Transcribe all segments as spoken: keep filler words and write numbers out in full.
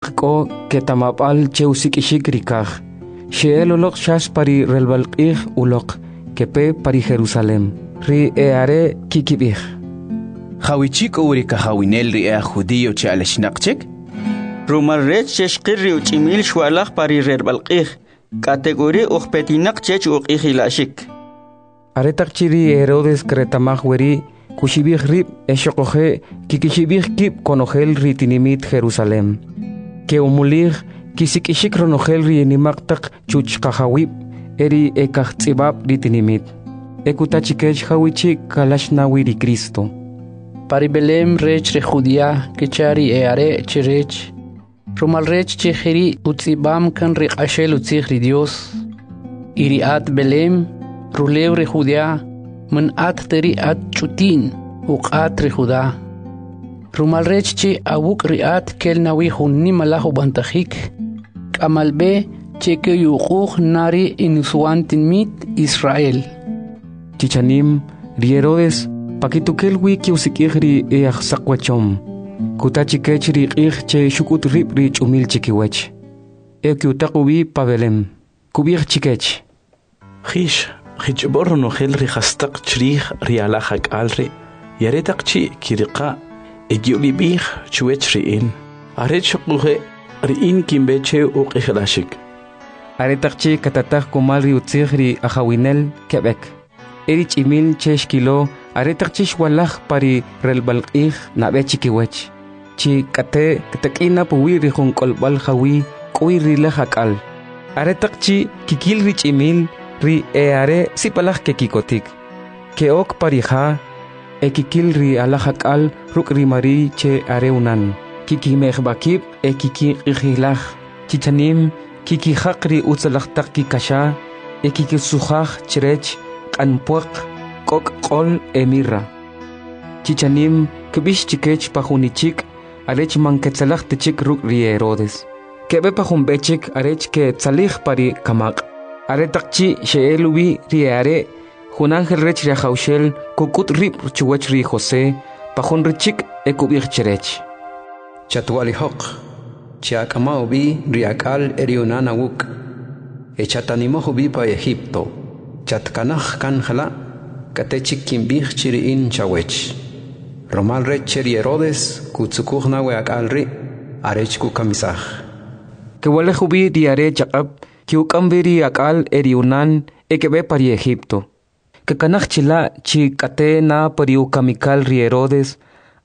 K'o keta'mab'al che usik'ixik ri kaj, xe'el uloq xas pa ri relb'al q'ij uloq, kepe pa ri Jerusalem. Ri e are' kikib'ij: Jawichi' k'o wi ri kajawinel ri e aj judío che alaxinaq chik? Rumal rech che xqil ri uch'imil xwa'laj pa ri relb'al q'ij, k'atek'uri' ujpetinaq chech uq'ijila'xik. Aretaq chi' ri Herodes kreta'maj weri', kuxib'ij rib' e xoquje' kikixib'ij kib' konojel ri tinimit Jerusalem. Ke'umulij kisik'ixik ronojel ri nimaq taq chuchqajawib' e ri ekajtz'ib'ab' ri tinimit. E kuta chikech jawichi' kalax na wi ri Cristo. Pa ri Belem rech ri Judea, kecha ri e'are' chrech, rumal rech che jeri' utz'ib'am kan ri q'axel utzij ri Dyos. Y ri at Belem, rulew ri Judea, man at ta ri at ch'uti'n uq'at ri Juda. Rumal rech che awuk' ri at kel na wi jun nimalaj ub'antajik, k'amal b'e che ke'uyuq'uj na ri enusiwan tinimit Israel. Chichanim, ri Herodes pakitukel wi ke'usik'ij ri e aj saqwachom. Kuta chikech ri q'ij che xuk'ut rib' ri ch'umil chikiwach. E ke'utaq ub'i pa Belem. Kub'ij chikech: Jix, jich'ob'o ronojel ri jastaq chrij ri alaj ak'al ri', y aretaq chi' kiriqa' e ki'ub'ib'ij chuwach ri in, arech xoquje' ri in kinb'e che uq'ijilaxik. Aretaq chi' katataj kumal ri utzij ri ajawinel keb'ek. E ri ch'imil che xkilo aretaq chi' xwa'laj pa ri relb'al q'ij nab'e chikiwach. Chi k'ate' ktak'i' puwi' ri jun k'olb'al jawi' k'o wi ri laj ak'al. Aretaq chi' kikil ri ch'imil, ri e are' sib'alaj kekikotik. Ke'ok pa ri ja, e kikil ri alaj ak'al ruk' ri Mari'y che are unan. Kikimejb'a kib' e kikiq'ijilaj. Chichanim kikijaq ri utzalaj taq kikaxa e kikisujaj chrech q'an pwaq, k'ok' q'ol e mirra. Chichanim kb'ix chikech pa jun ichik' arech man ketzalaj ta chik ruk' ri Herodes. Keb'e pa jun b'e chik arech ketzalij pa ri kamaq'. Aretaq chi' xe'el ub'i ri e are', jun ángel rech ri Ajawxel kuk'ut rib' chuwach ri José pa jun richik' e kub'ij chrech: Chatwa'lijoq, che'ak'ama ub'i ri ak'al e ri unan awuk', e chatanimoj ub'i pa Egipto. Chatkanaj kan jala', k'ate chik kinb'ij chi ri in chawech. Rumal rech che ri Herodes kutzukuj na we ak'al ri' arech kukamisaj. Kewalej ub'i ri are' chaq'ab', ke'uk'am b'i ri ak'al e ri unan e keb'e pa ri Egipto. Kekanaj chila' chi k'ate' na pa ri ukamikal ri Herodes,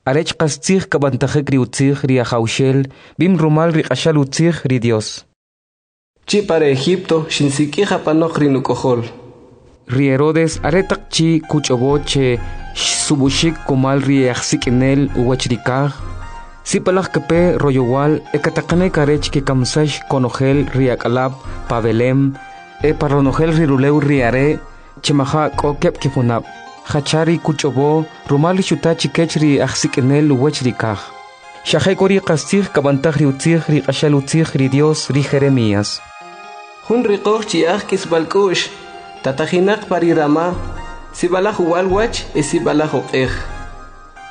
arech qastzij kab'antajik ri utzij ri Ajawxel b'im rumal ri q'axal utzij ri Dios. Chi' pa ri Egipto xinsik'ij apanoq ri nuk'ojol. Ri Herodes aretaq chi' kuch'ob'o che xsub'uxik kumal ri ajsik'inel uwach ri kaj, sib'alaj kepe royowal e kataqanik arech kekamsax konojel ri ak'alab' pa Belem e pa ronojel ri rulew ri are' che maja' k'o keb' kijunab', jacha ri kuch'ob'o rumal ri xuta chikech ri ajsik'inel uwach ri kaj. Xa jek'uri' qastzij kab'antaj ri utzij ri q'axal utzij ri Dios ri Jeremías. Jun riqoj chi'aj k'isb'al k'u'x, tatajinaq pa ri Rama, sib'alaj uwal wach e sib'alaj oq'ej.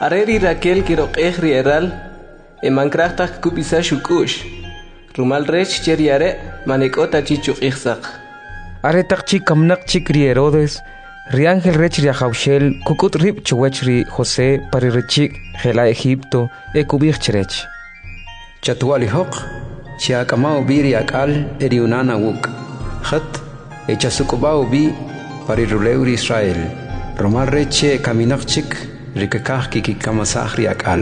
Are ri Raquel kiroq'ej ri eral, e man kraj taj kkub'isax uk'u'x, rumal rech che ri are' man e k'o ta chi chuq'ij saq. Aretaq chi' kamnaq chik ri Herodes, ri ángel rech ri Ajawxel kuk'ut rib' chuwach ri José pa ri richik' jela' Egipto e kub'ij chrech: Chatwa'lijoq, che'ak'ama ub'i ri ak'al e ri unan awuk', jat e chasuk'ub'a ub'i pa ri rulew ri Israel, rumal rech che kaminaq chik ri kkaj kikikamisaj ri ak'al.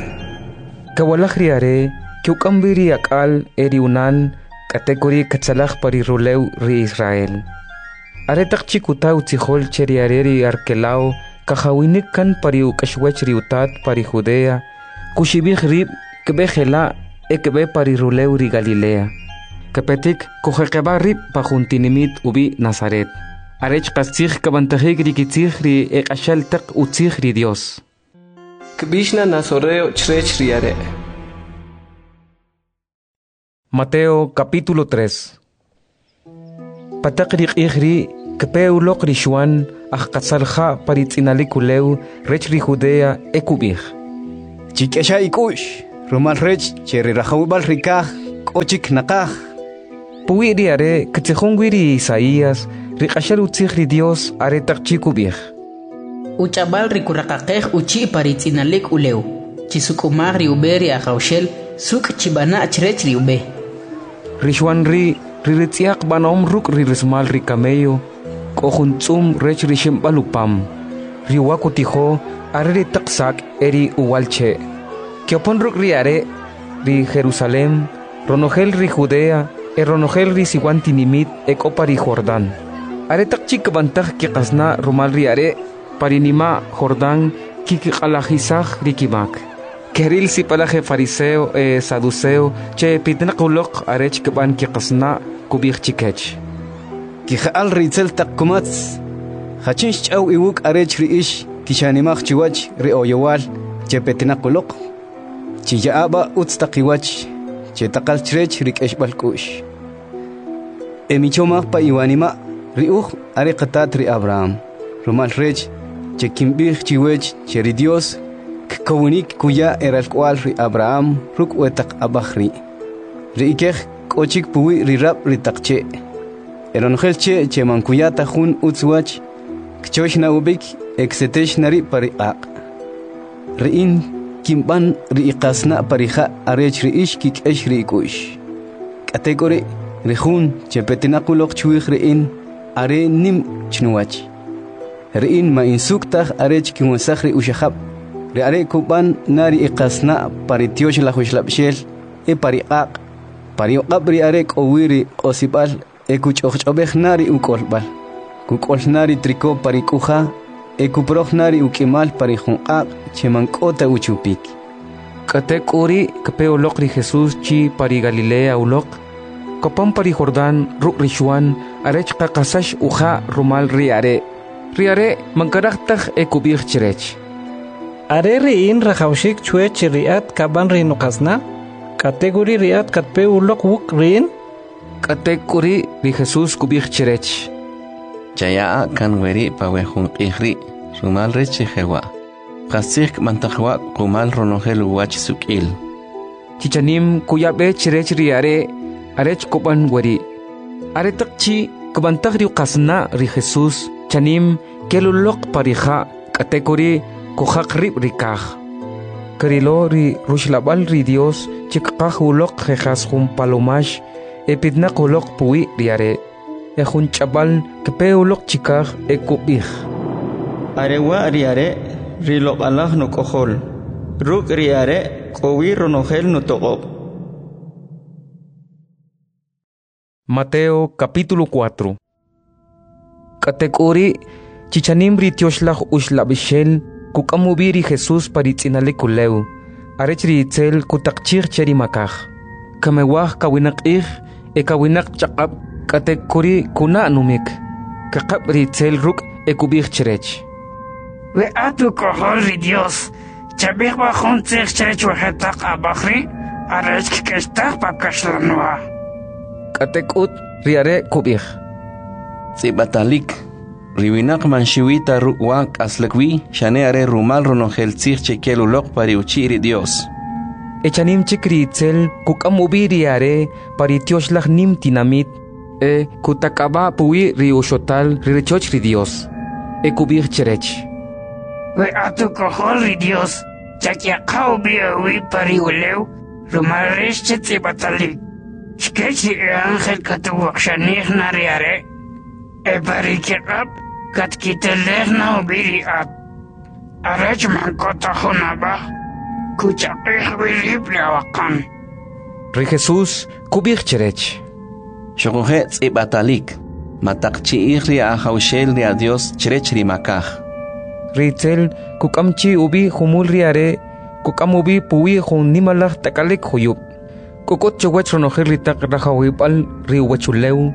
Kawalaj ri are', ke'uk'am b'i ri ak'al e ri unan, k'atek'uri' ketzalaj pa ri rulew ri Israel. Aretaq chi' kuta utzijol che ri are' ri Arkelao kajawinik kan pa ri uk'axwach ri utat pa ri Judea, kuxib'ij rib' kb'e jela' e kb'e pa ri rulew ri Galilea. Kepetik kujeqeb'a rib' pa jun tinimit ub'i' Nazaret, arech qastzij kab'antajik ri kitzij ri eq'axal taq utzij ri Dios. Kb'ix na Nazoreo chrech ri are'. Mateo capítulo tres. Pataq ri q'ij ri' kpe uloq ri Xuan aj qasal ja' pa ri tz'inalik ulew rech ri Judea e kub'ij: Chik'exa ik'u'x, rumal rech che ri rajawib'al ri kaj k'o chik naqaj. Puwi' ri are' ktzijon wi ri Isaías, ri q'axal utzij ri Dios, aretaq chi' kub'ij: Uch'ab'al ri kuraqaqej uchi' pa ri tz'inalik ulew, Chisuk'umaj ri ub'e ri Ajawxel, suk' chib'ana' chrech ri ub'e. Ri Xwan ri', ri ritz'yaq b'anom ruk' ri rismal ri camello, k'o jun tz'um rech ri ximb'al upam. Ri uwa kutijo are ri taq sak' e ri uwa'lche'. Ke'opan ruk' ri are' ri Jerusalem, ronojel ri Judea e ronojel ri siwan tinimit e k'o pa ri Jordan. Aretaq chi' kb'antaj kiqasna' rumal ri are' pa ri nima' Jordan, kkiq'alajisaj ri kimak. Keril sib'alaj fariseo e saduceo che petinaq uloq arech kb'an kiqasna', kub'ij chikech: Kija'al ri itzel taq kumatz, jachin xch'aw iwuk' arech ri ix kixanimaj chiwach ri oyowal che petinaq uloq? Chiya'a b'a utz taq iwach che taqal chrech ri k'exb'al k'u'x. E michomaj pa iwanima' ri uj are qatat ri Abraham, rumal rech che kinb'ij chiwech che ri Dios kkowinik kuya eralk'wa'l ri Abraham ruk' we taq ab'aj ri'. Ri ikej k'o chik puwi' ri rab' ri taq che'. E ronojel che' che man kuya ta jun utz wach, kchox na ub'ik e ksetex na ri' pa ri q'aq'. Ri in kinb'an ri iqasna' pa ri ja' arech ri ix kik'ex ri ik'u'x. K'atek'uri' ri jun che petinaq uloq chwij ri in are nim chnuwach. Ri in ma in suk' taj arech kinwesaj ri uxajab', ri are' kub'an na ri iqasna' pa ri Tyoxlaj Uxlab'xel e pa ri q'aq', pa ri uq'ab' ri are' k'o wi ri q'osib'al e kuch'ojch'ob'ej na ri uk'olb'al, kuk'ol na ri triko pa ri k'uja e kuporoj na ri uk'imal pa ri jun q'aq' che man k'o ta uchupik. K'atek'uri' kpe uloq ri Jesús chi pa ri Galilea uloq, kopan pa ri Jordan ruk' ri Xwan arech kaqasax uja' rumal ri are'. Ri are' man karaj taj e kub'ij chrech: Are ri in rajawxik chwech che ri at kab'an ri nuqasna', k'atek'uri' ri at katpe uloq wuk' ri in? K'atek'uri' ri Jesús kub'ij chrech: Chaya'a kan weri' pa we jun q'ij ri', rumal rech che jewa'. Qastzij kb'antaj wa' qumal ronojel uwach suk'il. Chichanim kuya b'e chrech ri are' arech kub'an weri'. Aretaq chi' kb'antaj ri uqasna' ri Jesús, chanim kel uloq pa ri ja', k'atek'uri' kujaq rib' ri kaj. Krilo ri ruxlab'al ri Dios che kqaj uloq je' jas jun palomax e petinaq uloq puwi' ri are'. E jun ch'ab'al kpe uloq chikaj e kub'ij: Are wa' ri are', ri loq'alaj nuk'ojol, ruk' ri are' k'o wi ronojel nutoq'ob'. Mateo capítulo cuatro. K'atek'uri' chichanim ri Tyoxlaj Uxlab'ixel kuk'am ub'i ri Jesús pa ri tz'inalik ulew, arech ri itzel kutaqchij che ri makaj. Kamewaj kawinaq q'ij e kawinaq chaq'ab', k'atek'uri' kuna' numik. Kaqab' ri itzel ruk' e kub'ij chrech: We at uk'ojol ri Dios, chab'ij b'a jun tzij chrech we jetaq ab'aj ri' arech kk'extaj pa kaxlanwa. K'atek'ut ri are' kub'ij: Tz'ib'atalik, ri winaq man xuwi ta ruk' wa k'aslik wi, xane are rumal ronojel tzij che kel uloq pa ri uchi' ri Dios. E chanim chik ri itzel kuk'am ub'i ri are' pa ri tyoxlaj nim tinamit e kutak'ab'a puwi' ri uxotal ri rachoch ri Dios. E kub'ij chrech: We at uk'ojol ri Dios, chak'yaqa ub'i awib' pa ri ulew, rumal rech che tz'ib'atalik. Chkech ri e ángel katuwaqxanij na ri are', e pa ri kiq'ab' katkitelej na ub'i ri at, arech man k'o ta jun ab'aj kuchaq'ij wi rib' ri awaqan. Ri Jesús kub'ij chrech: Xuquje' tz'ib'atalik, mataqchi'ij ri Ajawxel ri Adios chrech ri makaj. Ri itzel kuk'am chi ub'i jumul ri are', kuk'am ub'i puwi' jun nimalaj tak'alik juyub'. Kuk'ut chuwach ronojel ri taq rajawib'al ri uwachulew,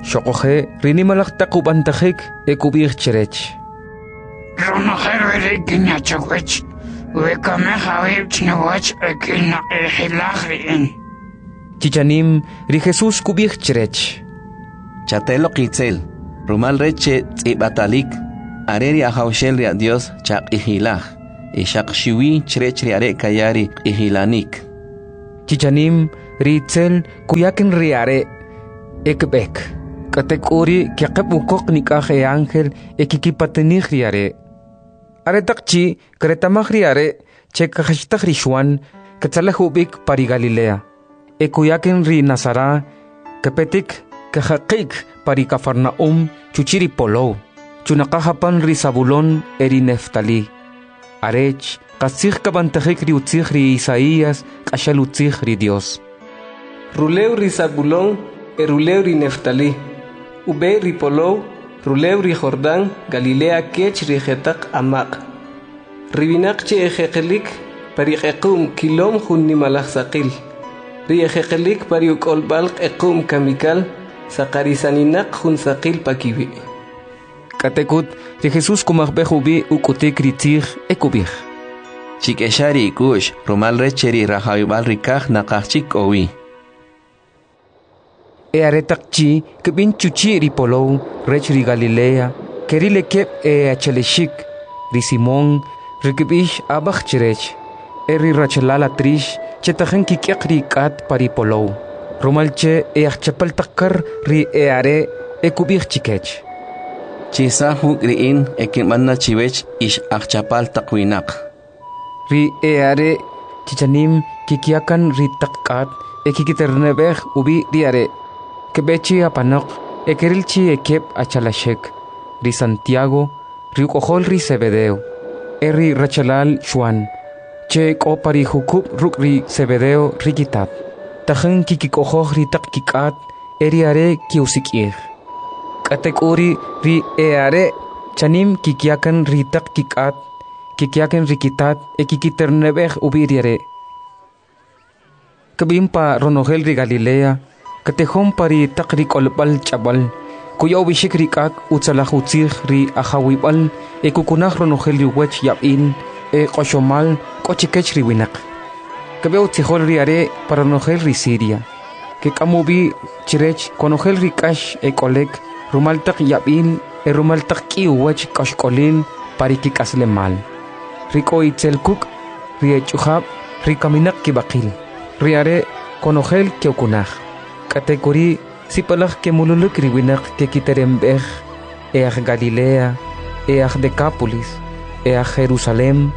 xuquje' ri nimalaj taq ub'antajik e kub'ij chrech: Ronojel weri' kinya chawech, we kamej awib' chnuwach e kinaq'ijilaj ri in. Chichanim ri Jesús kub'ij chrech: Chateloq itzel, rumal rech che tz'ib'atalik, are ri Ajawxel ri Adios chaq'ijilaj, e xaq xiwi chrech ri are' kaya ri q'ijilanik. Chichanim Ri itzel kuyaken ri are' e kb'ek. K'atek'uri' keqeb' ukoq nik'aj e ángel e kikipatanij ri are'. Aretaq chi' kretamaj ri are' che kajachtaj ri Xwan, katzalej ub'ik pa ri Galilea. E kuyaken ri Nazara, kepetik kajaqik pa ri Kafarnaum chuchi' ri polow, chunaqaj apan ri Zabulón e ri Neftali. Arech qastzij kab'antajik ri utzij ri Isaías q'axal utzij ri Dios. Rulew ri Zabulón e rulew ri Neftali, ub'e ri polow, rulew ri Jordán, Galilea kech ri jetaq amaq'. Ri winaq che ejeqelik pa ri q'equm kilom jun nimalaj saqil. Ri ejeqelik pa ri uk'olb'al q'equm kamikal, saqarisaninaq jun saqil pa kiwi'. K'atek'ut ri Jesús kumajb'ej ub'i uk'utik ri tzij e kub'ij: Chik'exa ri ik'u'x, rumal rech che ri rajawib'al ri kaj naqaj chik k'o wi. E aretaq chi' kb'in chuchi' ri polow rech ri Galilea, keril ekeb' e achalexik, ri Simón, ri kb'ix Ab'aj chrech, e ri rachalal Atrix, che tajin kik'yaq ri k'at pa ri polow, rumal che e ajchapal taq kar ri e'are' e kub'ij chikech: Chisaj wuk' ri in e kinb'an na chiwech ix ajchapal taq winaq. Ri e'are' chichanim kikyakan ri taq k'at e kikiterneb'ej ub'i ri are'. Kb'e chi apanoq e keril chi ekeb' achalaxik, ri Santiago, ri uk'ojol ri Zebedeo, e ri rachalal Xwan, che k'o pa ri jukub' ruk' ri Zebedeo ri kitat. Tajin kikik'ojoj ri taq kik'at e ri are' ki'usik'ij. K'atek'uri' ri e'are' chanim kikyakan ri taq kik'at, kikyakan ri kitat e kikiterneb'ej ub'i ri are'. Kb'in pa ronojel ri Galilea, katejon pa ri taq ri k'olb'al ch'ab'al, kuya ub'ixik ri k'ak' utzalaj utzij ri ajawib'al e kukunaj ronojel ri uwach yab'il e q'oxomal k'o chikech ri winaq. Kb'e utzijol ri are' pa ronojel ri Siria. Kek'am ub'i chrech konojel ri k'ax e k'olek rumal taq yab'il e rumal taq k'i uwach k'axk'olil pa ri kik'aslemal. Ri k'o itzel kuk', ri ech'ujab', ri kaminaq kib'aqil. Ri are' konojel ke'ukunaj. K'atek'uri' sipalaj kemululuk ri winaq kekiteremb'ej e aj Galilea, e aj Decápolis, e aj Jerusalem,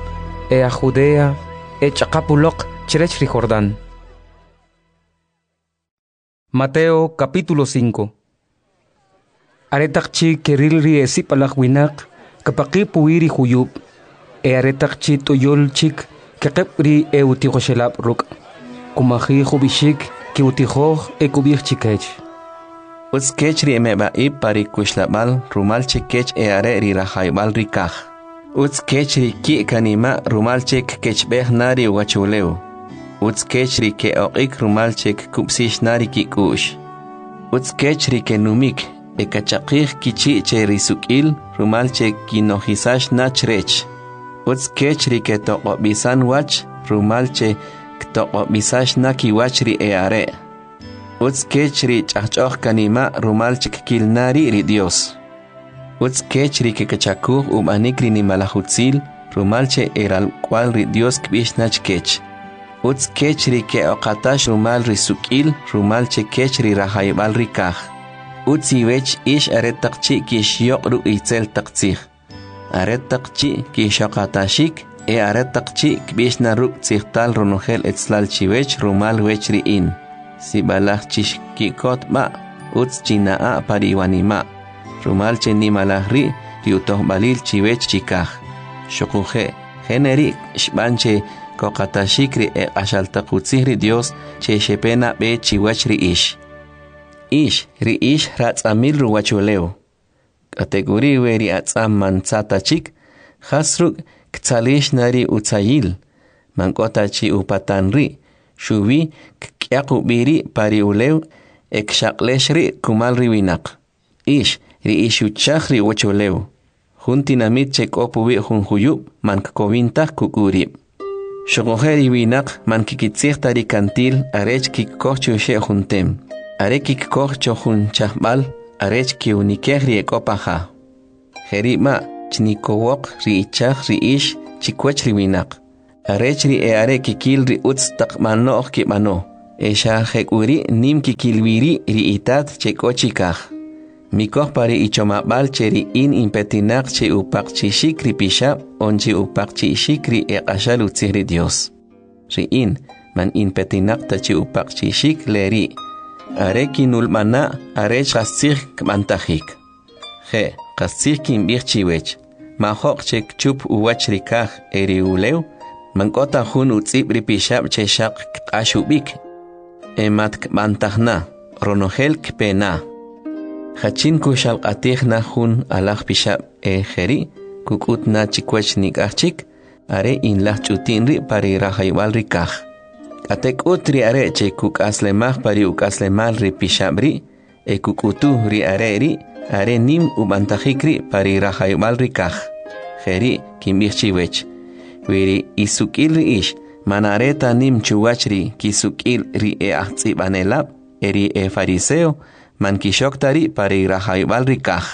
e aj Judea, e ch'aqap uloq chrech ri Jordán. Mateo capítulo cinco. Aretaq chi' keril ri esipalaj winaq, kapaqi' puwi ri juyub', e aretaq chi' t'uyul chik keqeb' ri e'utijoxelab' ruk'. Kumajij ub'ixik ki'utijoj e kub'ij chikech: Utz kech ri emeb'a'ib' pa ri kuxlab'al, rumal che kech e'are' ri rajawib'al ri kaj. Utz kech ri ki' kanima' rumal che kkechb'ej na ri uwachulew. Utz kech ri ke'oq'ik rumal che kkub'six na ri kik'u'x. Utz kech ri kenumik e kachaqij kichi' che ri suk'il rumal che kinojisax na chrech. Utz kech ri ketoq'ob'isan wach rumal che ktoq'ob'isax na kiwach ri e'are'. Utz kech ri ch'ajch'oj kanima' rumal che kkil na ri' ri Dios. Utz kech ri kekachakuj ub'anik ri nimalaj utzil rumal che eralk'wal ri Dios kb'ix na chkech. Utz kech ri ke'oqatax rumal ri suk'il rumal che kech ri rajawib'al ri kaj. Utz iwech ix aretaq chi' kixyoq' ruk' itzel taq tzij, aretaq chi' kixoqataxik e aretaq chi' kb'ix na ruk' tzijtal ronojel etzlal chiwech rumal wech ri in. Sib'alaj chixki'kot b'a', utz china'a pa ri iwanima', rumal che nimalaj ri' ri utojb'alil chiwech chikaj. Xuquje' jeneri' xb'an che koqataxik ri eq'axal taq utzij ri Dios che xepe nab'e chiwach ri ix. Ix, ri ix ratz'amil ruwachulew. K'atek'uri' we ri atz'am man tza ta chik, jas ruk' ktzalix na ri utzayil, man k'o ta chi upatan ri', xuwi kk'yaq ub'i ri' pa ri ulew e kxaq'lex ri' kumal ri winaq. Ix, ri ix uchaj ri uwachulew. Jun tinamit che k'o puwi' jun juyub' man kkowin taj kuk'u rib'. Xuquje' ri winaq man kikitzij ta ri kantil arech kikkoj chuxe' jun tem, are kikkoj cho jun chajb'al arech ki'unikej ri e k'o pa ja. Jeri' ma' chnikowoq ri ichaj ri ix chikwach ri winaq, arech ri e'are kikil ri utz taq b'anoj kib'ano, e xa jek'uri' nim kikil wi ri' ri Itat che k'o chikaj. Mikoj pa ri ichomab'al che ri in inpetinaq che upaqchi'xik ri pixab' on che upaqchi'xik ri eq'axal utzij ri Dios. Ri in, man inpetinaq ta che upaqchi'xik le ri', are kinulb'ana' arech qastzij kb'antajik. Je', qastzij kinb'ij chiwech, majo'q che kchup uwach ri kaj e ri ulew, man k'o ta jun utz'ib' ri pixab' che xaq kq'ax ub'ik, e mat kb'antaj na, ronojel kpe na. Jachin kuxalq'atij na jun alaj pixab' e jeri' kuk'ut na chikwach nik'aj chik, are inlaj ch'uti'n ri' pa ri rajayb'al ri kaj. K'atek'ut ri are' che kuk'aslemaj pa ri uk'aslemal ri pixab' ri' e kuk'utu ri are' ri' are nim ub'antajik ri' pa ri rajayb'al ri kaj. Jeri' kinb'ij chiwech, wi ri isuk'il ri ix man are ta nim chuwach ri kisuk'il ri e ajtz'ib'anelab' e ri e fariseo, man kixok ta ri' pa ri rajayb'al ri kaj.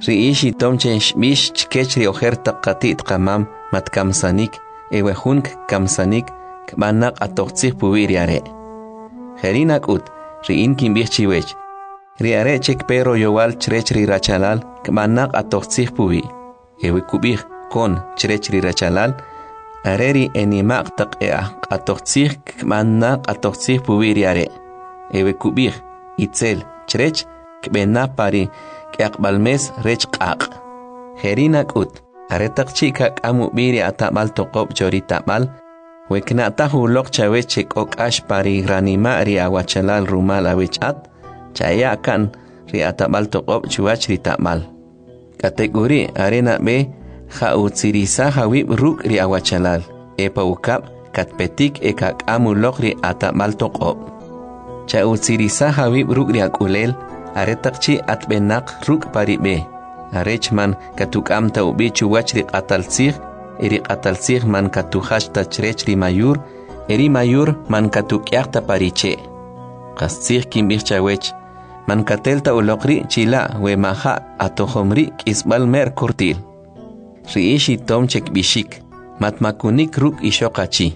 Ri ix itom che xb'ix chkech ri ojer taq qati't qamam matkamsanik e we jun kkamsanik kb'an na q'atoj tzij puwi' ri are'. Jeri' nak'ut, ri in kinb'ij chiwech, ri are' che kpe royowal chrech ri rachalal kb'an na q'atoj tzij puwi'. E we kub'ij kon chrech ri rachalal, are ri enima'q taq e aj q'atoj tzij kb'an na q'atoj tzij puwi' ri are'. E we kub'ij itzel chrech kb'e na pa ri k'yaqb'al mes rech q'aq'. Jeri' nak'ut, aretaq chi' kak'am ub'i ri atab'al toq'ob' cho ri tab'al, we kna'taj uloq chawech che k'o k'ax pa ri ranima' ri awachalal rumal awech at, chaya' kan ri atab'al toq'ob' chuwach ri tab'al. K'atek'uri' are nab'e ja'utzirisaj awib' ruk' ri awachalal, e pa ukab' katpetik e kak'am uloq ri atab'al toq'ob'. Cha'utzirisaj awib' ruk' ri ak'ulel, aretaq chi' atb'enaq ruk' pa ri b'e, arech man katuk'am ta ub'i chuwach ri q'atal tzij, e ri q'atal tzij man katujach ta chrech ri mayur, e ri mayur man katuk'yaq ta pa ri che'. Qastzij kinb'ij chawech, man katel ta uloq ri' chila' we maja' atojom ri' k'isb'al mer kortil. Ri ix itom che kb'ixik, matmakunik ruk' ixoq achi.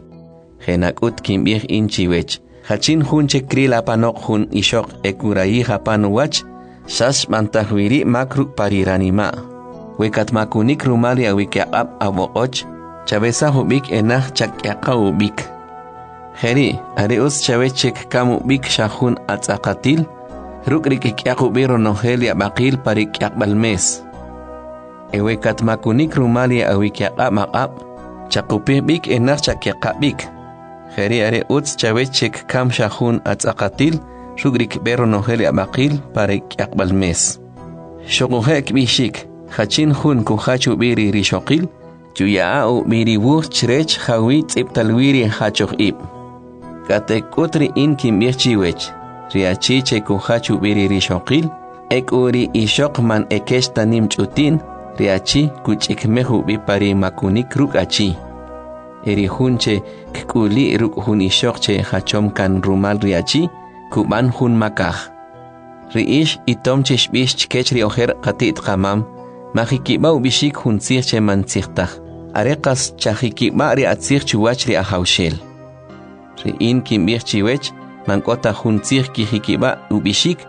Je nak'ut kinb'ij in chiwech, jachin jun che kril apanoq jun ixoq e kurayij apan uwach, xas xb'antaj wi ri' mak ruk' pa ri ranima'. We katmakunik rumal ri awikyaq'ab' awoq'och, chawesaj ub'ik e naj chak'yaqa ub'ik. Jeri', are utz chawech che kkam ub'ik xa jun atz'aqatil, ruk' ri kk'yaq ub'i ronojel ri ab'aqil pa ri k'yaqb'al mes. E we katmakunik rumal ri awikyaq'ab' aq'ab', chaqupij b'ik e naj chak'yaqa b'ik. Jeri' are utz chawech che kkam xa jun atz'aqatil, ruk' ri kb'e ronojel ri ab'aqil pa ri k'yaqb'al mes. Xuquje' kb'ixik, jachin jun kujach ub'i ri rixoqil, chuya'a ub'i ri wuj chrech jawi tz'ib'tal wi ri jachoj ib'. K'atek'ut ri in kinb'ij chiwech, ri achi che kujach ub'i ri rixoqil, e k'u ri ixoq man ekech ta nim ch'uti'n, ri achi kuch'ikmej ub'i pa ri makunik ruk' achi. E ri jun che kk'uli' ruk' jun ixoq che jachom kan rumal ri achi, kub'an jun makaj. Ri ix itom che xb'ix chkech ri ojer qati't qamam, majikib'a ub'ixik jun tzij che man tzij taj, are qas chajikib'a ri atzij chuwach ri Ajawxel. Ri in kinb'ij chiwech, man k'o ta jun tzij kijikib'a ub'ixik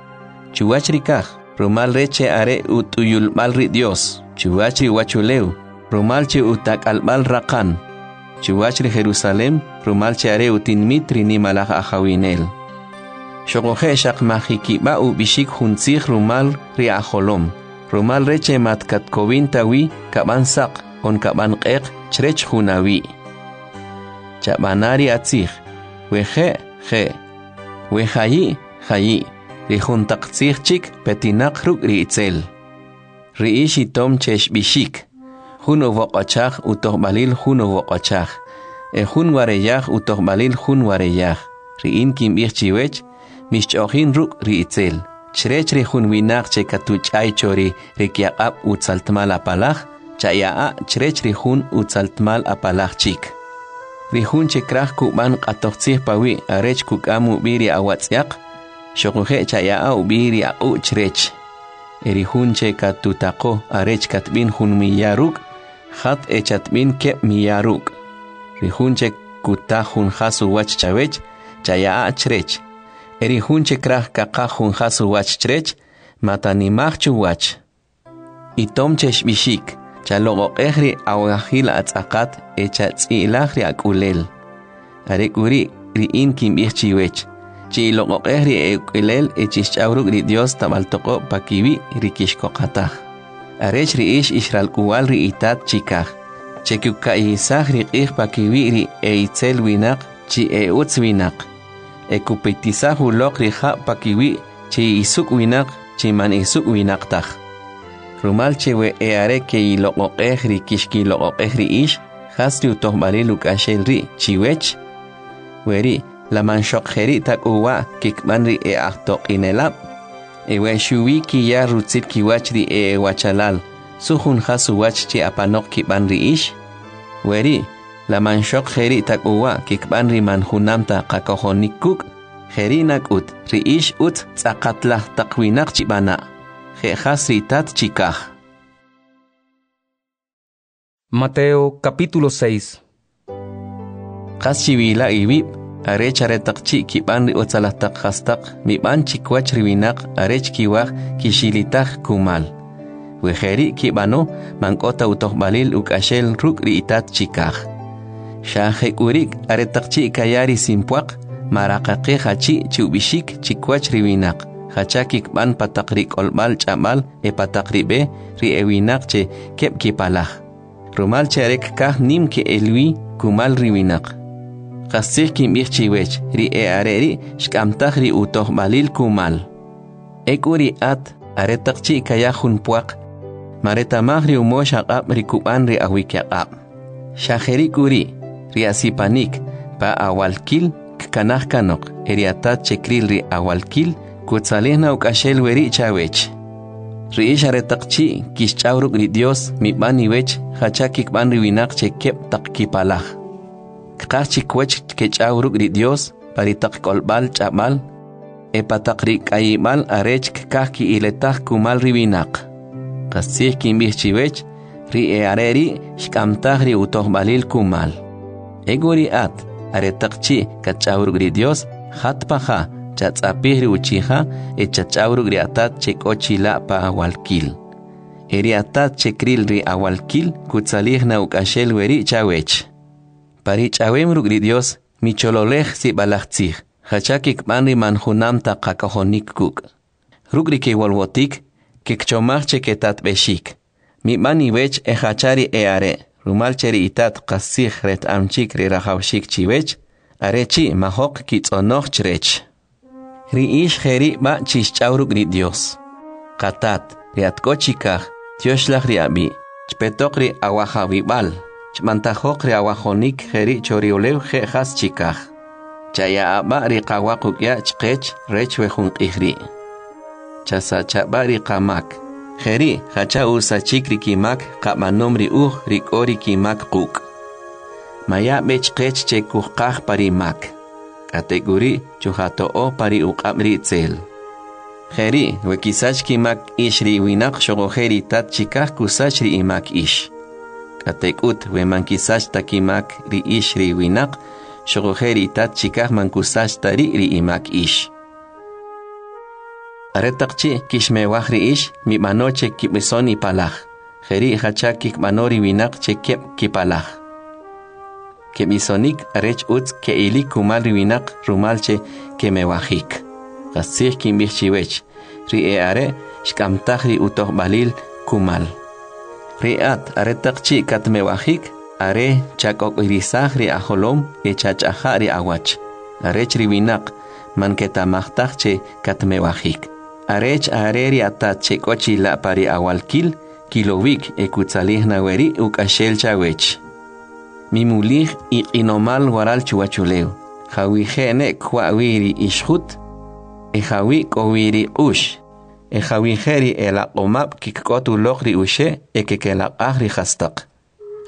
chuwach ri kaj, rumal rech che are ut'uyulb'al ri Dios, chuwach ri uwachulew, rumal che utak'alb'al raqan, chuwach ri Jerusalem, rumal che are utinmit ri nimalaj ajawinel. Xuquje' xaq majikib'a ub'ixik jun tzij rumal ri ajolom, rumal rech che mat katkowin ta wi kab'an saq on kab'an q'eq chrech jun awi'. Chab'ana ri atzij, we je' je', we jayi' jayi', ri jun taq tzij chik petinaq ruk' ri itzel. Ri ix itom che xb'ixik, jun uwoq'ochaj utojb'alil jun uwoq'ochaj, e jun wareyaj utojb'alil jun wareyaj. Ri in kinb'ij chiwech, mixch'o'jin ruk' ri itzel. Chrech ri jun winaq che katuch'ay cho ri rikyaq'ab' utzaltmal apalaj, chaya'a chrech ri jun utzaltmal apalaj chik. Ri jun che kraj kub'an q'atoj tzij pawi' arech kuk'am ub'i ri awatz'yaq, xuquje' chaya'a ub'i ri aq'u' chrech. E ri jun che katutaqo arech katb'in jun miya ruk', jat e chatb'in keb' miya ruk'. Ri jun che kuta jun jas uwach chawech, chaya'a chrech. E ri jun che kraj kaqaj jun jas uwach chrech, matanimaj chuwach. Itom che xb'ixik, chaloq'oq'ej ri awajil atz'aqat e chatz'ilaj ri ak'ulel. Are k'u ri' ri in kinb'ij chiwech, chiloq'oq'ej ri e'uk'ulel e chixch'aw ruk' ri Dios tab'al toq'ob' pakiwi' ri kixkoqataj. Arech ri ix ixralk'uwal ri itat chikaj, che kuka'yisaj ri q'ij pakiwi' ri e'itzel winaq chi e'utz winaq, e kupetisaj uloq ri jab' pakiwi' chi isuk' winaq chi man isuk' winaq taj. Rumal che we e'are ke'iloq'oq'ej ri kixkiloq'oq'ej ri ix, jas ri utojb'alil uk'axel ri' chiwech? Weri', la man xoq jeri' ta k'u wa' kikb'an ri e'ajtoq'inelab'? E we xuwi kiya rutzil kiwach ri e'ewachalal, su jun jas uwach chi apanoq kib'an ri ix? Weri', la man xoq jeri' ta k'u wa' kikb'an ri man junam ta qakojonik kuk'? Jeri' nak'ut, ri ix utz tz'aqatlaj taq winaq chib'ana', je' jas ri Itat chikaj. Mateo capítulo seis. Qas chiwila iwib', arech aretaq chi' kib'an ri utzalaj taq jastaq mib'an chikwach ri winaq arech kiwaj kixilitaj kumal. We jeri' kib'ano, man k'o ta utojb'alil uk'axel ruk' ri Itat chikaj. Xa jek'uri' aretaq chi' kaya ri simpwaq, maraqaqej achi' chi ub'ixik chikwach ri winaq, jacha kikb'an pa taq ri k'olb'al ch'ab'al e pa taq ri b'e ri e winaq che keb' kipalaj. Rumal che are kkaj nim ke'elwi kumal ri winaq. Qastzij kinb'ij chiwech, ri e'are ri' xk'amtaj ri utojb'alil kumal. Ek'u ri at, aretaq chi' kaya jun pwaq, mareta'maj ri umox aq'ab' ri kub'an ri awikyaq'ab'. Xa jeri' k'u ri', ri asipanik pa awalkil kkanaj kanoq, e ri atat che kril ri awalkil kutzalij na uk'axel weri' chawech. Ri ix aretaq chi' kixch'aw ruk' ri Dios, mib'an iwech jacha kikb'an ri winaq che keb' taq kipalaj. Kqaj chikwach kech'aw ruk' ri Dios pa ri taq k'olb'al ch'ab'al e pa taq ri k'ayib'al arech kkaj ki'iletaj kumal ri winaq. Qastzij kinb'ij chiwech, ri e'are ri' xk'amtaj ri utojb'alil kumal. Ek'u ri at, aretaq chi' katch'aw ruk' ri Dios, jat pa ja, chatz'apij ri uchija e chatch'aw ruk' ri atat che k'o chila' pa awalkil. E ri atat che kril ri awalkil kutzalij na uk'axel weri' chawech. Pa ri ch'awem ruk' ri Dios, michololej sib'alaj tzij, jacha kikb'an ri man junam ta qakojonik kuk'. Ruk' ri kewolwotik, kikchomaj che ketatb'exik. Mib'an iwech e jacha ri e'are', rumal che ri itat qastzij reta'm chik ri rajawxik chiwech, are chi' majoq kitz'onoj chrech. Ri ix jeri' b'a chixch'aw ruk' ri Dios. Qatat, ri at k'o chikaj, tyoxlaj ri ab'i', chpetoq ri awajawib'al, chb'antajoq ri awajonik jeri' cho ri ulew je' jas chikaj. Chaya'a b'a ri qawa quk'ya' chqech rech we jun q'ij ri'. Chasachab'a ri qamak, jeri' jacha usachik ri kimak qab'anom ri uj ri k'o ri kimak quk'. Maya b'e chqech che kujqaj pa ri mak. K'atek'uri' chujato'o pa ri uq'ab' ri itzel. Jeri' we kisach kimak ix ri winaq xuquje' ri Tat chikaj kusach ri imak ix. K'atek'ut we man kisach ta kimak ri ix ri winaq, xuquje' ri Tat chikaj man kusach ta ri' ri imak ix. Aretaq chi' kixmewaj ri ix, mib'ano che kib'ison ipalaj. Jeri' jacha kikb'ano ri winaq che keb' kipalaj. Keb'isonik arech utz ke'ilik kumal ri winaq rumal che kemewajik. Qastzij kinb'ij chiwech, ri e'are' xk'amtaj ri utojb'alil kumal. Ri at aretaq chi' katmewajik, are chak'ok'irisaj ri ajolom e chach'aja' ri awach, arech ri winaq man keta'maj taj che katmewajik. Arech are ri atat che k'o chila' pa ri awalkil, kilowik e kutzalij na weri' uk'axel chawech. Mimulij iq'inomal waral chuwachulew, jawije' ne kwa'wi ri ixjut, e jawi k'o wi ri q'ux, e jawije' ri elaq'omab' kikk'ot uloq ri uxe' e kekelaq'aj ri jastaq.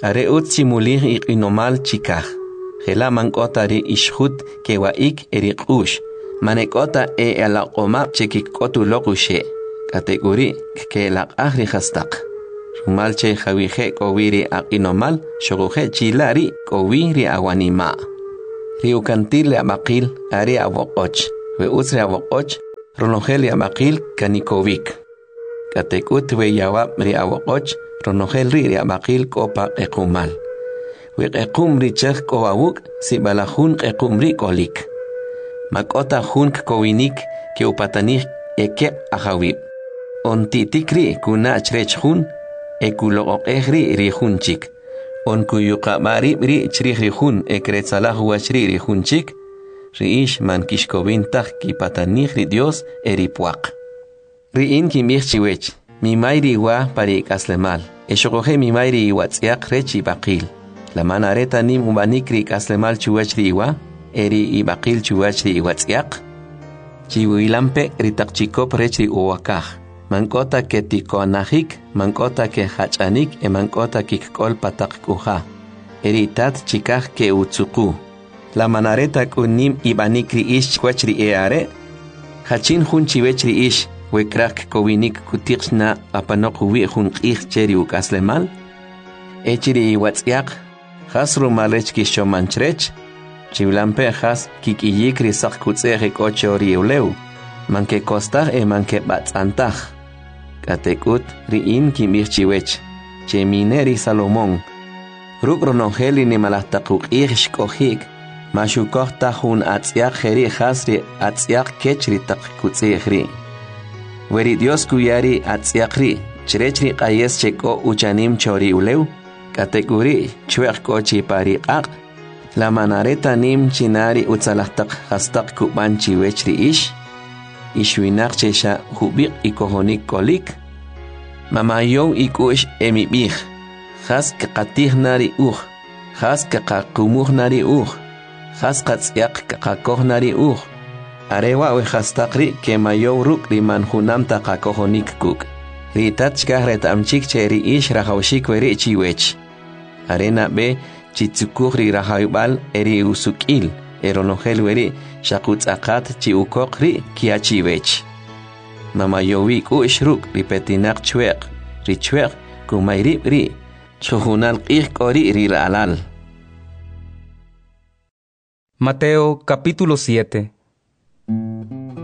Are utz chimulij iq'inomal chikaj, jela' man k'o ta ri ixjut kewa'ik e ri q'ux, man e k'o ta e elaq'omab' che kikk'ot uloq uxe', k'atek'uri' kkelaq'aj ri jastaq. Rumal che jawije' k'o wi ri aq'inomal, xuquje' chila' ri' k'o wi ri awanima'. Ri ukantil ri ab'aqil are awoq'och. We utz ri awoq'och, ronojel ri ab'aqil kanikowik. K'atek'ut we yawab' ri awoq'och, ronojel ri' ri ab'aqil k'o pa q'equ'mal. We q'equ'm ri chaj k'o awuk', sib'alaj jun q'equ'm ri' k'olik. Ma k'o ta jun kkowinik ke'upatanij ekeb' ajawib'. On ti'tik ri' kuna' chrech jun, e kuloq'oq'ej ri' ri jun chik. On kuyuqab'a rib' ri' chrij ri jun e kretzalaj uwach ri' ri jun chik. Ri ix man kixkowin taj kipatanij ri Dyos e ri pwaq. Ri in kinb'ij chiwech, mimay ri iwa pa ri ik'aslemal, e xoquje' mimay ri iwatz'yaq rech ib'aqil. La man are ta nim ub'anik ri ik'aslemal chuwach ri iwa, e ri ib'aqil chuwach ri iwatz'yaq? Chiwilampe' ri taq chikop rech ri uwakaj. Man k'o ta ketikonajik, man k'o ta kejach'anik e man k'o ta kikk'ol pa taq k'uja. E ri Itat chikaj ke'utzuqu. La man are ta k'u nim ib'anik ri ix chwach ri e'are'? Jachin jun chiwech ri ix, we kraj kkowinik kutiq na apanoq uwi' jun q'ij che ri uk'aslemal? E chi ri iwatz'yaq, jas rumal rech kixchoman chrech? Chiwilampe' jas kik'iyik ri saq kutz'e'j e k'o cho ri ulew, man kekostaj e man keb'atz'antaj. K'atek'ut ri in kinb'ij chiwech, che mine ri Salomón, ruk' ronojel ri nimalaj taq uq'ij xk'oji'k, ma xukoj taj jun atz'yaq jeri' jas ri atz'yaq kech ri taq kutz'e'j ri'. We ri Dios kuya ri atz'yaq ri' chrech ri q'ayes che k'o uchanim cho ri ulew, k'atek'uri' chwe'q k'o chi pa ri q'aq', la man are ta nim china ri utzalaj taq jastaq kub'an chiwech ri ix? Ix winaq che xa jub'iq' ikojonik k'olik? Mamayow ik'u'x e mib'ij, jas kqatij na ri uj, jas kqaqumuj na ri uj, jas qatz'yaq kqakoj na ri uj. Are wa' we jastaq ri' kemayow ruk' ri man junam ta qakojonik kuk'. Ri Itat chikaj reta'm chik che ri ix rajawxik weri' chiwech. Are nab'e chitzukuj ri rajawib'al e ri usuk'il, e ronojel weri' xaq utz'aqat chi ukoq ri' kya chiwech. Mamayowi k'u'x ruk' ri petinaq chwe'q, ri chwe'q kumay rib' ri', chjujunal q'ij k'o ri' ri ra'lal. Mateo capítulo siete.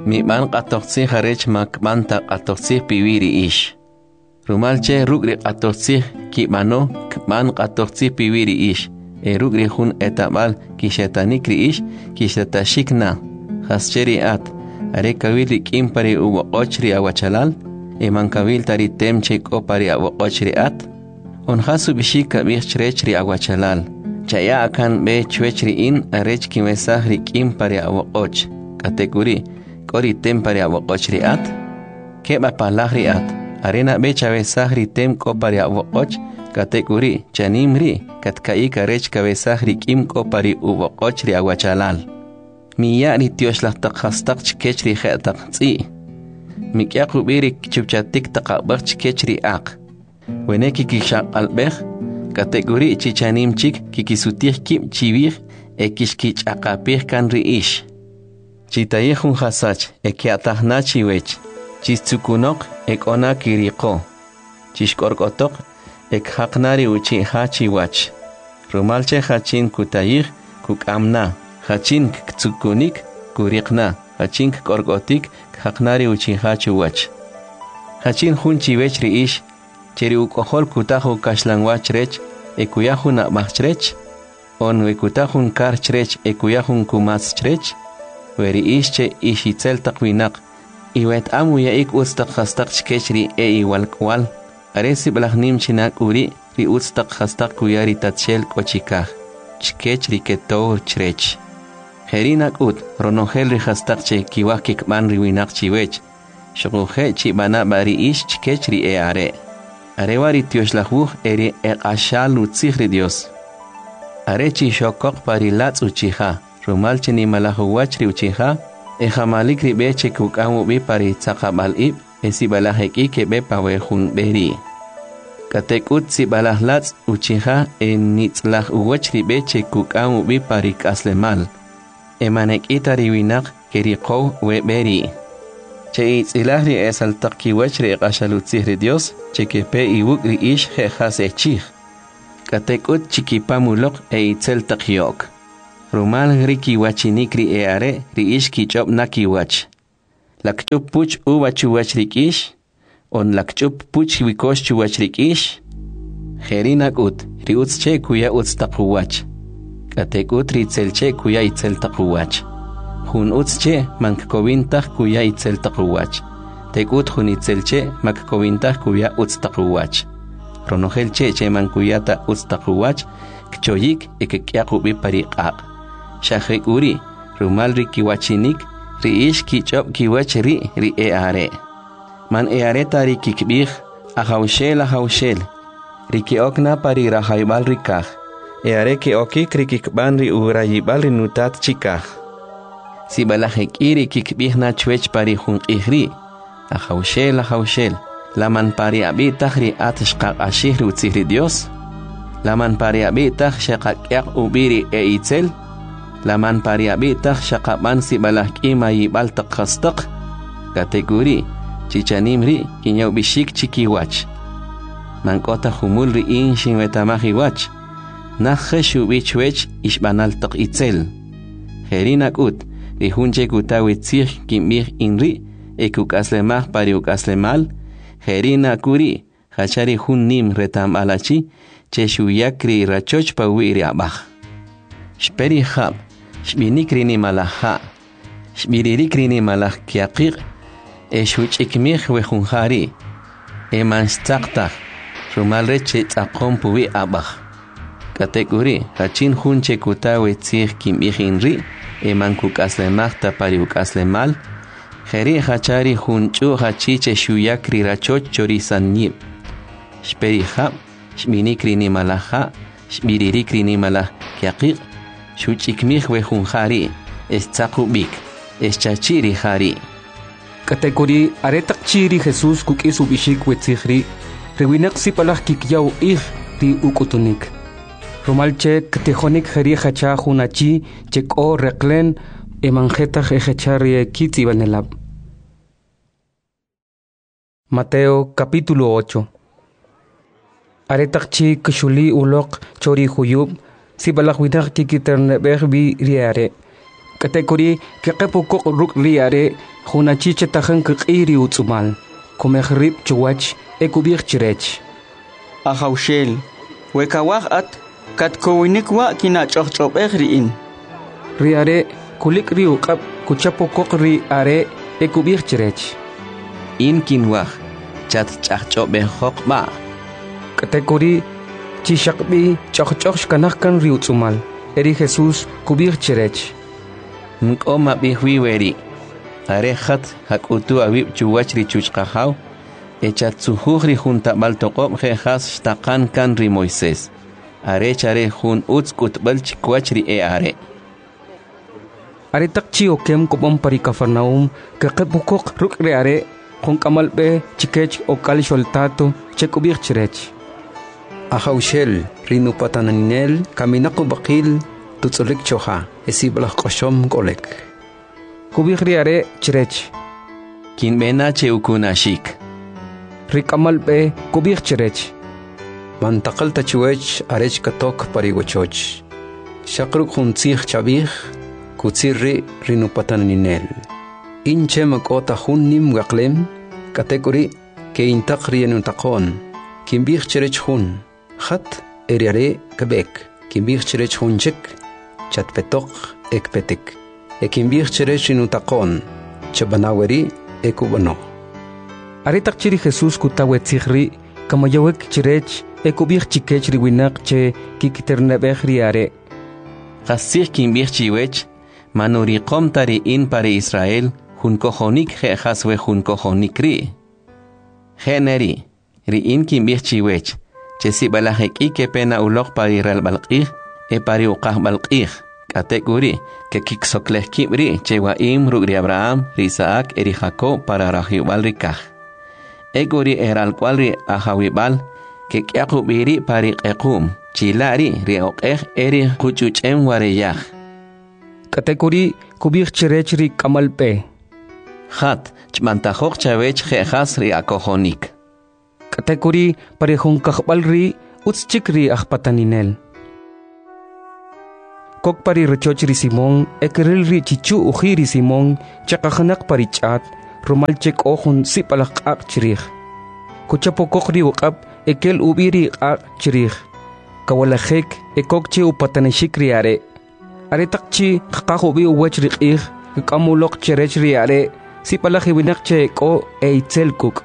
Mib'an q'atojtzij arech ma kb'an ta q'atojtzij piwi' ri ix. Rumal che ruk' ri q'atojtzij kib'ano kb'an q'atojtzij piwi' ri ix, e ruk' ri jun etab'al kixetanik ri ix kixetaxik na. Jas che ri at, are kawil ri k'im pa ri uwoq'och ri awachalal, e man kawil ta ri tem che k'o pa ri awoq'och ri at? On jas ub'ixik kab'ij chrech ri awachalal, chaya'a kan b'e chwech ri in arech kinwesaj ri k'im pa ri awoq'och, k'atek'uri' k'o ri tem pa ri awoq'och ri at? Keb' apalaj ri at, are nab'e chawesaj ri tem k'o pa ri awoq'och, k'atek'uri' chanim ri' katka'yik arech kawesaj ri k'im k'o pa ri uwoq'och ri awachalal. Miya' ri tyoxlaj taq jastaq chkech ri je'taq tz'i'. Mik'yaq ub'i ri chupchatik taq ab'aj chkech ri aq. Wene kikixaq'alb'ej, k'atek'uri' chi chanim chik kikisutij kib' chiwij e kixkich'aqapij kan ri ix. Chitayij jun jasach e kya'taj na chiwech, chixtzukunoq e k'o na kiriqo, chixk'ork'otoq e kjaq na ri uchi' ja chiwach. Rumal che jachin kutayij kuk'am na, jachin ktzukunik kuriq na, jachin kk'ork'otik kjaq na ri uchi' ja chuwach. Jachin jun chiwech ri ix, che ri uk'ojol kutaj ukaxlanwa chrech e kuya jun ab'aj chrech, on we kutaj jun kar chrech e kuya jun kumatz chrech, we ri ix che ix itzel taq winaq, iweta'm uya'ik utz taq jastaq chkech ri e iwalk'wal, are sib'alaj nim china k'uri' ri utz taq jastaq kuya ri Tatxel k'o chikaj, chkech ri ketow chrech. Jeri' nak'ut ronojel ri jastaq che kiwaj kikb'an ri winaq chiwech, xuquje' chib'ana b'a ri ix chkech ri e'are'. Are wa' ri tyoxlaj wuj e ri eq'axal utzij ri Dios. Are chixokoq pa ri latz' uchija, rumal che nimalaj uwach ri uchija, e jamalik ri b'e che kuk'am ub'i pa ri tzaqab'al ib' e sib'alaj ek'i keb'e pa we jun b'e ri'. K'atek'ut sib'alaj latz' uchija e nitz'laj uwach ri b'e che kuk'am ub'i pa ri k'aslemal, e man ek'i ta ri winaq keriqow we b'e ri'. Che itz'ilaj ri esal taq kiwach ri eq'axal utzij ri Dios, che kepe iwuk' ri ix je' jas echij. K'atek'ut chikipam uloq e itzel taq yo'k. Rumal ri kiwachinik ri e'are' ri ix kich'ob' na kiwach. La kch'up puch uva chuwach ri k'ix? On la kch'up puch wikox chuwach ri k'ix? Jeri' nak'ut, ri utz che' kuya utz taq uwach, k'atek'ut ri itzel che' kuya itzel taq uwach. Jun utz che' man kkowin taj kuya itzel taq uwach, tek'ut jun itzel che' ma kkowin taj kuya utz taq uwach. Ronojel che' che man kuya ta utz taq uwach, kchoyik e kk'yaq ub'i pa ri q'aq'. Xa jek'uri', rumal ri kiwachinik, ri ix kich'ob' kiwach ri' ri e'are'. Man e'are ta ri kikb'ij, Ajawxel, Ajawxel, ri ke'ok na pa ri rajayb'al ri kaj, e'are ke'okik ri kikb'an ri urayib'al ri nutat chikaj. Sib'alaj ek'i ri kikb'ij na chwech pa ri jun q'ij ri', Ajawxel, Ajawxel, la man pa ri ab'i' taj ri at xqaq'axij ri utzij ri Dios? La man pa ri ab'i' taj xeqak'yaq ub'i ri e'itzel? La man pa ri ab'i' taj xaqab'an sib'alaj k'i mayib'al taq jastaq? K'atek'uri', chichanim ri' kinya ub'ixik chikiwach. Man k'o ta jumul ri in xinwetamaj iwach. Naj jex ub'i chwech ixb'anal taq itzel. Jeri' nak'ut, ri jun che kuta wi tzij kinb'ij in ri' e kuk'aslemaj pa ri uk'aslemal, jeri' nak'uri' jacha ri jun nim reta'mb'al achi che xuyak ri rachoch pawi' ri ab'aj. Xpe ri jab', xb'inik ri nimalaj ja', xb'iririk ri nimalaj kyaqiq', e xuch'ikmij we jun ja ri', e man xtzaq taj, rumal rech che tz'aqom puwi' ab'aj. K'atek'uri', jachin jun che kuta we tzij kinb'ij in ri' e man kuk'aslemaj ta pa ri uk'aslemal, jeri' jacha ri jun ch'u'j achi che xuyak ri rachoch cho ri sanyib'. Xpe ri jab', xb'inik ri nimalaj ja', xb'iririk ri nimalaj kyaqiq', xuch'ikmij we jun ja ri', e xtzaq ub'ik, e xchachi' ri ja ri'. K'atek'uri', aretaq chi' ri Jesús kuk'is ub'ixik we tzij ri', ri winaq sib'alaj kikya uq'ij ri uk'utunik. Rumal che ktijonik jeri' jacha jun achi che k'o reqle'n e man je taj ejacha ri ekitz'ib'anelab'. Mateo capítulo ocho. Aretaq chi' kxuli uloq cho ri juyub', sib'alaj winaq kikiterneb'ej b'i ri are'. K'atek'uri' keqeb' ukoq ruk' ri are' jun achi che tajin kq'iy ri utz'umal, kumej rib' chuwach e kub'ij chrech: Ajawxel, we kawaj at, katkowinik wa' kinach'ojch'ob'ej ri in. Ri are' kulik' ri uq'ab' kuchap ukoq ri are' e kub'ij chrech: In kinwaj, chatch'ajch'ob'ejoq b'a'. K'atek'uri' chi xaqb'i ch'ojch'oj xkanaj kan ri utz'umal, e ri Jesús kub'ij chrech: Nk'o mab'ij wi weri', are jat jak'utu awib' chuwach ri chuchqajaw, e chatzujuj ri jun tab'al toq'ob' je' jas xtaqan kan ri Moisés, arech are jun utz k'utb'al chikiwach ri e'are'. Aretaq chi' okem kob'an pa ri Kafarnaum, keqeb' ukoq ruk' ri are' jun k'amal b'e chikech ok'al xoltato che kub'ij chrech: Ajawxel, ri nupataninel kaminaq ub'aqil tutz'ulik choja, e sib'alaj q'oxom k'olek. Kub'ij ri are' chrech: Kinb'e na che ukunaxik. Ri k'amal b'e kub'ij chrech: Man taqal ta chiwech arech katok pa ri wachoch. Xaq ruk' jun tzij chab'ij, kutzir ri' ri nupataninel. In che ma k'o ta jun nim weqlem, k'atek'uri' ke'intaq ri enutaqo'n. Kinb'ij chrech jun, jat, e ri are' kb'ek. Kinb'ij chrech jun chik, chatpetoq e kpetik. E kinb'ij chrech ri nutaqo'n, chab'ana weri' e kub'ano. Aretaq chi' ri Jesús kuta we tzij ri', kamayowik chrech e kub'ij chikech ri winaq che kikiterneb'ej ri are': Qastzij kinb'ij chiwech, man uriqom ta ri in pa ri Israel jun kojonik je' jas we jun kojonik ri'. Je' neri', ri in kinb'ij chiwech, che sib'alaj ek'i kepe na uloq pa ri relb'al q'ij e pa ri uqajb'al q'ij, k'atek'uri' kekiksoklej kib' ri' che wa'im ruk' ri Abraham, ri Isaac e ri Jacob para rajib'al ri kaj. Ek'u ri eralk'wal ri ajawib'al kek'yaq ub'i ri' pa ri q'equm, chila' ri' ri oq'ej e ri quch'uch'em wareyaj. K'atek'uri' kub'ij chrech ri k'amal b'e: Jat, chb'antajoq chawech je' jas ri akojonik. K'atek'uri' pa ri jun kajb'al ri' utz chik ri ajpataninel. Kok pa ri rachoch ri Simón e kril ri chichu' uji' ri Simón che qajinaq pa ri ch'at, rumal che k'o jun sib'alaj q'aq' chrij. Kuchapokoq ri uq'ab' e kel ub'i ri q'aq' chrij. Kawalajik e kok che upatanixik ri are'. Aretaq chi' kqaj ub'i uwach ri q'ij, kk'am uloq chrech ri are' sib'alaj winaq che k'o e itzel kuk'.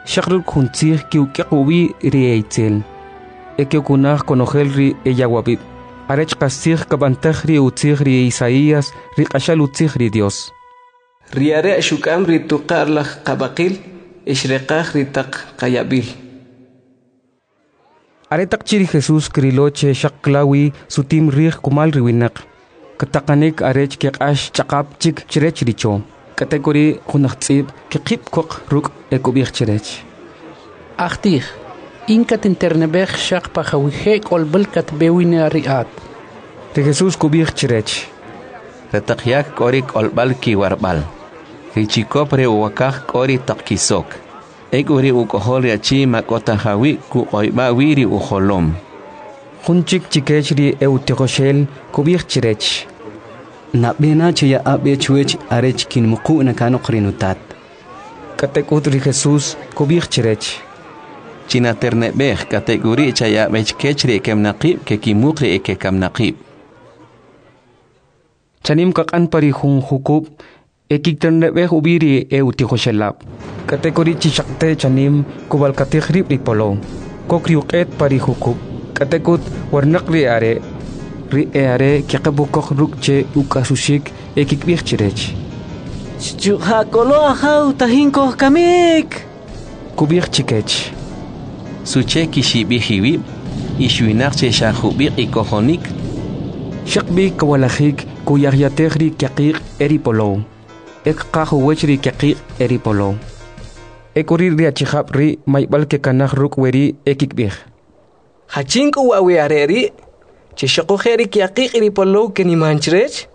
Xaq ruk' jun tzij ki'uk'yaq ub'i ri e itzel. E ke'ukunaj konojel ri eyawab'ib'. Arech qastzij kab'antaj ri utzij ri Isaías, ri q'axal utzij ri Dios. Ri are' xuk'am ri tuqa'rlaj qab'aqil e xreqaj ri taq qayab'il. Aretaq chi' ri Jesús krilo che xaq klawi sutim rij kumal ri winaq, kataqanik arech keq'ax ch'aqap chik chrech ri cho. K'atek'uri' jun ajtz'ib' kqib' koq ruk' e kub'ij chrech: Ajtij, in katinterneb'ej xaq pa jawije' k'olb'al katb'e wi na ri at. Ri Jesús kub'ij chrech: Ri taq yak k'o ri k'olb'al kiwarb'al, ri chikop re uwakaj k'o ri taq kisok, ek'u ri uk'ojol ri achi ma k'o ta jawi' kuq'oyb'a wi ri ujolom. Jun chik chikech ri e'utijoxel kub'ij chrech: Nab'e na chaya'a b'e chwech arech kinmuqu' na kanoq ri nutat. K'atek'ut ri Jesús kub'ij chrech: Chinaterneb'ej, k'atek'uri' chaya'a b'e chkech ri ekaminaqib' kekimuq ri ekekaminaqib'. Chanim kaq'an pa ri jun jukub' e kikiterneb'ej ub'i ri e'utijoxelab'. K'atek'uri' chi xaqte chanim kub'alkatij rib' ri polow. Kok ri uq'et pa ri jukub', k'atek'ut warnaq ri are'. Ri e'are' keqeb' ukoq ruk' che uk'asuxik e kikib'ij chrech: Chujjakolo ajaw, tajin kojkamik. Kub'ij chikech: Suche kixib'ij iwib', ix winaq che xa jub'iq' ikojonik? Xaq b'i kawalajik kuyajyatej ri kyaqiq' e ri polow. E kqaj uwach ri kyaqiq' e ri polow. Ek'uri' ri achijab' ri' mayb'al kekanaj ruk' weri' e kikib'ij: Jachin k'u wa' we are' ri' che xuquje' ri kyaqiq' ri polow keniman chrech?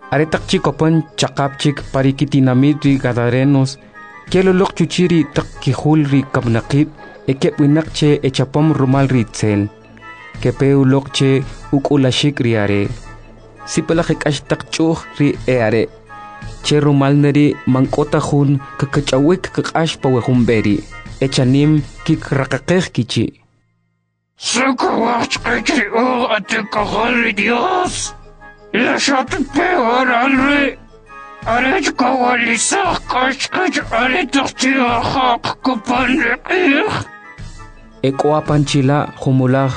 Aretaq chi' kopan ch'aqap chik pa ri kitinamit ri Gadarenos, kel uloq chuchi' ri taq kijul ri kaminaqib' e keb' winaq che echapom rumal ri itzel. Kepe uloq che uk'ulaxik ri are'. Sib'alaj ek'ax taq ch'u'j ri e'are', che rumal neri' man k'o ta jun kakach'awik kq'ax pa we jun b'e ri', e chanim kikraqaqej kichi'. Su kawaj chqech ri uj at uk'ojol ri Dios? La xatpe waral ri' arech kawalisaj k'ax chqech aretaq chi' ajoq kopan ri q'ij? E k'o apan chila' jumulaj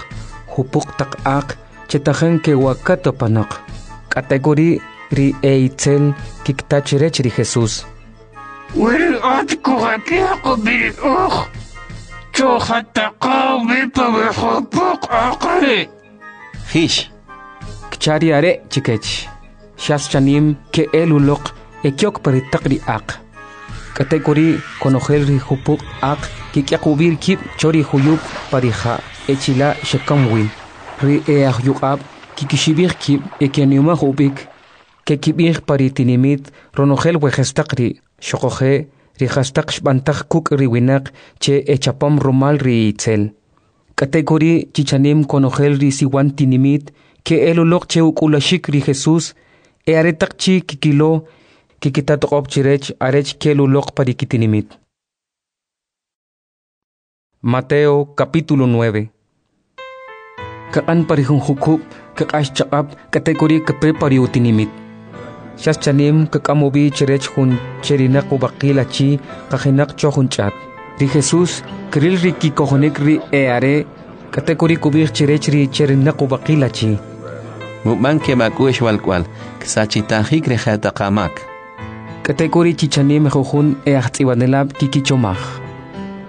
jupuq taq aq che tajin kewa'kat apanoq. K'atek'uri' ri e'itzel kikta chrech ri Jesús: We ri at kujak'yaq ub'i ri uj, chujataqa ub'i pa we jupuq aq ri'. Jix, kcha ri are' chikech. Xas chanim ke'el uloq e kyok pa ri taq ri aq. K'atek'uri' konojel ri jupuq aq kik'yaq ub'i kib' cho ri juyub' pa ri ja' e chila' xekam wi. Ri e'ajyuq'ab' kikixib'ij kib' e ke'animaj ub'ik, kekib'ij pa ri tinimit ronojel we jastaq ri', xuquje' ri jastaq xb'antaj kuk' ri winaq che echapom rumal ri itzel. K'atek'uri' chi chanim konojel ri siwan tinimit ke'el uloq che uk'ulaxik ri Jesús e aretaq chi' kikilo kikita toq'ob' chrech arech kel uloq pa ri kitinimit. Mateo capítulo nueve. Kaq'an pa ri jun jukub' kq'ax chaq'ab' k'atek'uri' kape pa ri utinimit. Xas chanim kak'am ub'i chrech jun cherinaq ub'aqil achi qajinaq cho jun ch'at. Ri Jesús kril ri kikojonik ri e'are', k'atek'uri' kub'ij chrech ri cherinaq ub'aqil achi: Mub'an keb' ak'u'x walk'wal, ksachitajik ri jetaq amak. K'atek'uri' chi chanim jujun e'ajtz'ib'anelab' kikichomaj: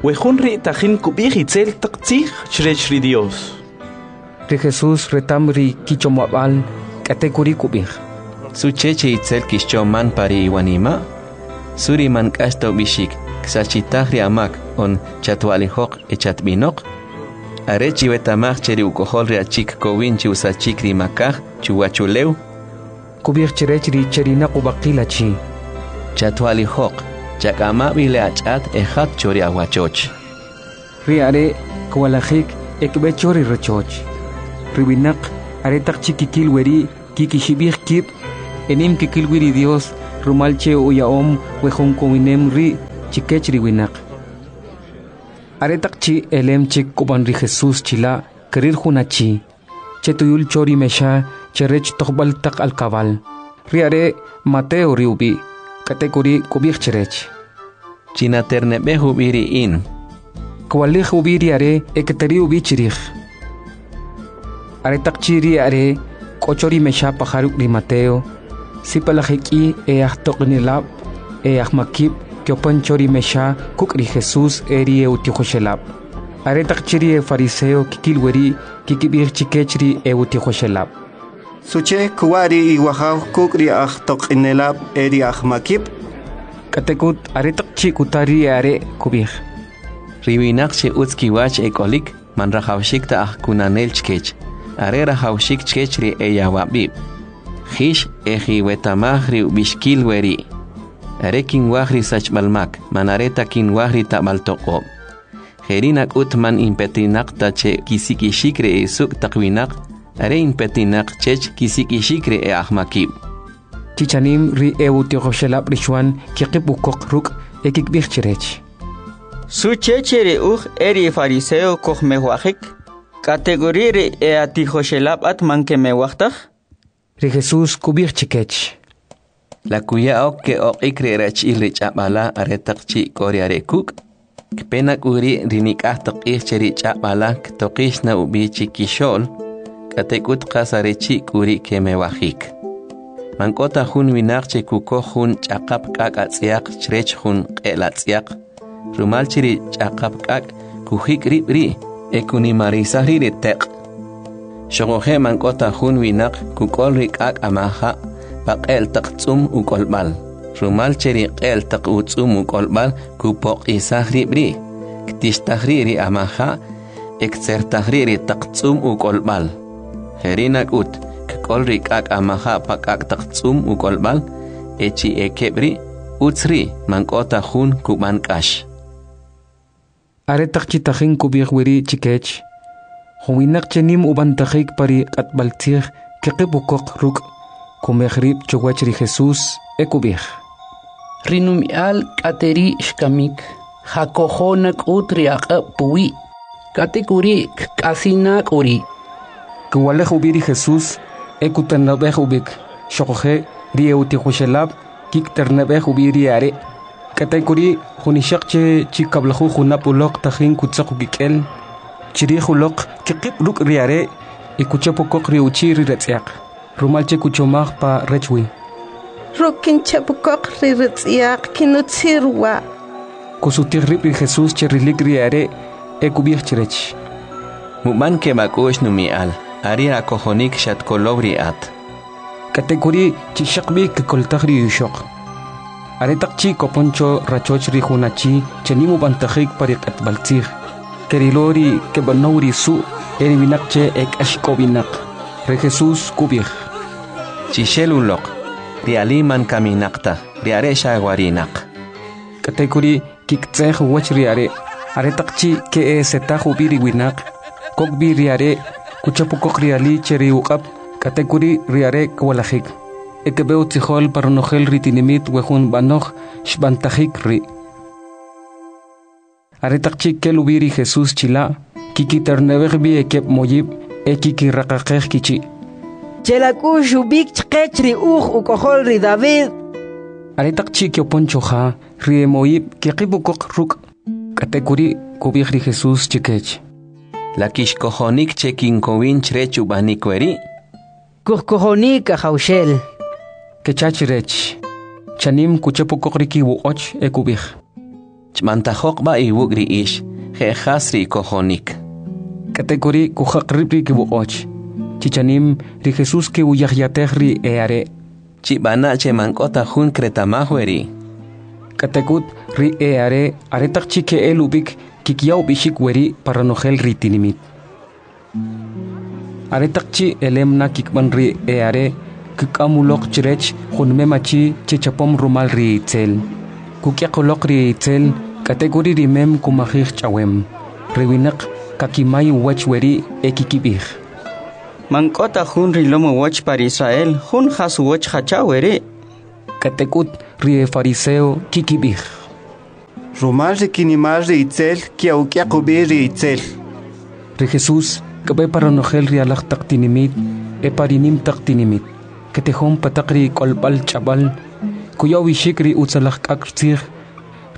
We jun ri' tajin kub'ij itzel taq tzij chrech ri Dios. Ri Jesús retam ri kichomab'al, k'atek'uri' kub'ij: Suche che itzel kixchoman pa ri iwanima'? Su ri man k'ax ta ub'ixik, ksachitaj ri amak on chatwa'lijoq e chatb'inoq? Are chiweta'maj che ri uk'ojol ri achi kkowin chi usachik ri makaj chuwachulew. Kub'ij chrech ri cherinaq ub'aqil achi: Chatwa'lijoq, chak'ama b'i le ach'at e jat cho ri awachoch. Ri are' kwalajik e kb'e cho ri rachoch. Ri winaq aretaq chi' kikil weri' Kikixib'ij kib' e nim kikil wi ri Dios rumal che uya'om we jun kowinem ri' chikech ri winaq. Aretaq chi' elem chik kub'an ri Jesus chila' kril jun achi che tuyul cho ri mexa che rech tojb'al taq alkab'al. Ri are' Mateo ri ub'i', k'atek'uri' kub'ij chrech: Chinaterneb'ej ub'i ri in. Kwalij ub'i ri are' e kteri ub'i chrij. Aretaq chi' ri are' k'o cho ri mexa paja ruk' ri Mateo, sib'alaj ek'i e ajtoq'inelab' e ajmakib' keopan cho ri mexa kuk' ri Jesus e ri e'utijoxelab'. Aretaq chi' ri efariseo kikil weri' kikib'ij chikech ri e'utijoxelab': Suche kuwa' ri iwajaw kuk' ri ajtoq'inelab' e ri ajmakib'? K'atek'ut aretaq chi' kuta ri are' kub'ij: Ri winaq che utz kiwach ek'olik man rajawxik ta ajkunanel chkech, are rajawxik chkech ri eyawab'ib'. Jix e jiwetamaj ri ub'ixkil weri': Are kinwaj ri sachb'al mak, man are ta kinwaj ri tab'al toq'ob'. Jeri' nak'ut man inpetinaq ta che kisik'ixik ri esuk' taq winaq, are inpetinaq chech kisik'ixik ri e'ajmakib'. Chichanim ri e'utijoxelab' ri Xwan keqib' ukoq ruk' e kikb'ij chrech: Suche che ri uj e ri fariseo kujmewajik, k'atek'uri' ri e'atijoxelab' at man kemewaj taj? Ri Jesus kub'ij chikech: La kuya'o ke'oq'ik ri erachi'l ri ch'ab' ala aretaq chi' k'o ri are' kuk'? Kpe na k'u ri' ri nik'aj taq q'ij che ri ch'ab' ala ktoqix na ub'i chikixo'l, k'atek'ut qas are chi' k'u ri' kemewajik. Man k'o ta jun winaq che kukoj jun ch'aqap k'ak' atz'yaq chrech jun q'e'l atz'yaq, rumal che ri ch'aqap k'ak' kujik' rib' ri' e kunimarisaj ri' ri teq'. Xoquje' man k'o ta jun winaq kuk'ol ri k'ak' amaja' pa q'e'l taq tz'um uk'olb'al, rumal che ri q'e'l taq utz'um uk'olb'al kupoq'isaj rib' ri', ktixtaj ri' ri amaja' e ktzertaj ri' ri taq tz'um uk'olb'al. Jeri' nak'ut, kk'ol ri k'ak' amaja' pa k'ak' taq tz'um uk'olb'al, e chi ekeb' ri', utz ri' man k'o ta jun kub'an k'ax. Aretaq chi' tajin kub'ij weri' chikech, jun winaq che nim ub'antajik pa ri q'atb'altzij keqib' ukoq ruk', kumej rib' chuwach ri Jesus e kub'ij: Ri numi'al k'ateri' xkamik, ja'kojo nak'ut ri aq'ab' puwi', k'atek'uri' kk'asi' na k'uri'. Kwalij ub'i ri Jesus e kuternab'ej ub'ik, xoquje' ri e'utijoxelab' kikiternab'ej ub'i ri are'. K'atek'uri' jun ixoq che chi kab'lajuj junab' uloq tajin kutzaq ukik'el, chrij uloq kqib' ruk' ri are' e kuchap ukoq ri uchi' ri ratz'yaq, rumal che kuchomaj pa rech wi: Ruk' kinchap ukoq ri ratz'yaq kinutzir wa'. Kusutij rib' ri Jesus che rilik ri are' e kub'ij chrech: Mub'an keb' ak'u'x numi'al, are akojonik xatkolow ri at. K'atek'uri' chi xaq b'i kkoltaj ri ixoq. Aretaq chi' kopon cho rachoch ri jun achi che nim ub'antajik pa ri q'atb'altzij, kerilo ri keb'anow ri su' e ri winaq che ek'axk'ob'inaq. Ri Jesus kub'ij: Chixel uloq, ri ali man kaminaq taj, ri are' xa warinaq. K'atek'uri' kikitze'j uwach ri are'. Aretaq chi' ke'esetaj ub'i ri winaq, kok b'i ri are', kuchap ukoq ri ali che ri uq'ab', k'atek'uri' ri are' kwalajik. E kb'e utzijol pa ronojel ri tinimit we jun b'anoj xb'antajik ri'. Aretaq chi' kel ub'i ri Jesus chila', kikiterneb'ej b'i ekeb' moyib' e kikiraqaqej kichi': Chelak'u'x ub'ik chqech ri uj uk'ojol ri David. Aretaq chi' ke'opon cho ja, ri emoyib' keqib' ukoq ruk'. K'atek'uri' kub'ij ri Jesus chikech: La kixkojonik che kinkowin chrech ub'anik weri'? Kujkojonik, Ajawxel. Kecha chrech. Chanim kuchap ukoq ri kiwoq'och e kub'ij: Chb'antajoq b'a iwuk' ri ix, je' jas ri ikojonik. K'atek'uri' kujaq rib' ri kiwoq'och. Chichanim ri Jesus ke'uyajyatej ri e'are'. Chib'ana' che man k'o ta jun kreta'maj weri'. K'atek'ut ri e'are' aretaq chi' ke'el ub'ik kikya ub'ixik weri' pa ronojel ri tinimit. Aretaq chi' elem na kikb'an ri e'are', kk'am uloq chrech jun mem achi che chapom rumal ri Itzel. Kuk'yaq uloq ri Itzel, k'atek'uri' ri mem kumajij ch'awem. Ri winaq kakimay uwach weri' e kikib'ij: Man k'o ta jun rilom uwach pa ri Israel jun jas uwach jacha weri'. K'atek'ut ri efariseo kikib'ij: Rumal ri kinimal ri itzel ke'uk'yaq ub'i ri itzel. Ri Jesus kb'e pa ronojel ri alaj taq tinimit e pa ri nim taq tinimit, ketijon pa taq ri k'olb'al ch'ab'al, kuya ub'ixik ri utzalaj k'ak' tzij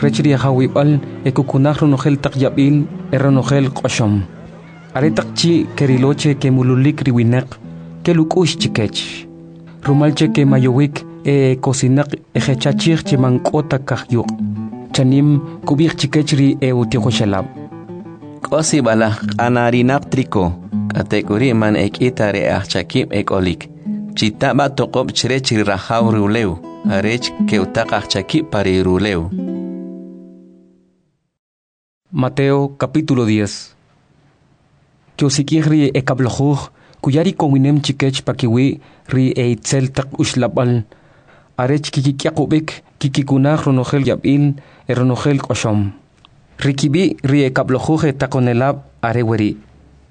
rech ri ajawib'al e kukunaj ronojel taq yab'il e ronojel q'oxom. Aretaq chi' kerilo che kemululik ri winaq, kel uk'u'x chikech, rumal che kemayowik e ekosinaq e jecha chij che man k'o ta kajyuq'. Chanim kub'ij chikech ri e'utijoxelab': K'o sib'alaj q'anarinaq triko, k'atek'uri' man ek'i ta ri e'ajchakib' ek'olik. Chita b'a toq'ob' chrech ri rajaw ri ulew, arech ke'utaq ajchakib' pa ri rulew. Mateo capítulo diez. Ke'usik'ij ri ekab'lajuj, kuya ri kowinem chikech pakiwi' ri e'itzel taq uxlab'al, arech kikik'yaq ub'ik kikikunaj ronojel yab'il e ronojel q'oxom. Ri kib'i' ri ekab'lajuj etaqonelab' are weri':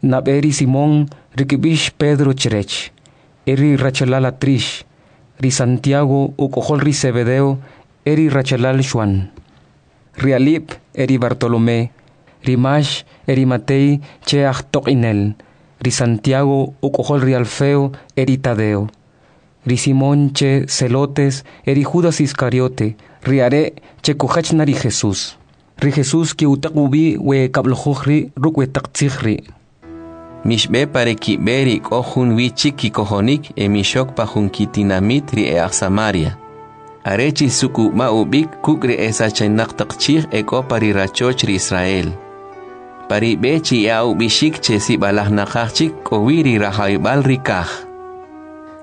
nab'e ri Simón, ri kb'ix Pedro chrech, e ri rachalal Atrix, ri Santiago uk'ojol ri Zebedeo e ri rachalal Xwan, ri Alip e ri Bartolomé, ri Max e ri Matey che ajtoq'inel, ri Santiago uk'ojol ri Alfeo e ri Tadeo, ri Simón che Zelotes e ri Judas Iscariote, ri are' che kujach na ri Jesus. Ri Jesus ke'utaq ub'i we kab'lajuj ri' ruk' we taq tzij ri': Mixb'e pa ri kib'e ri k'o jun wi chik kikojonik e mixok pa jun kitinamit ri e'aj Samaria. Are chisuk'ub'a ub'ik kuk' ri esachinaq taq chij e k'o pa ri rachoch ri Israel. Pa ri b'e chiya'a ub'ixik che sib'alaj naqaj chik k'o wi ri rajawib'al ri kaj.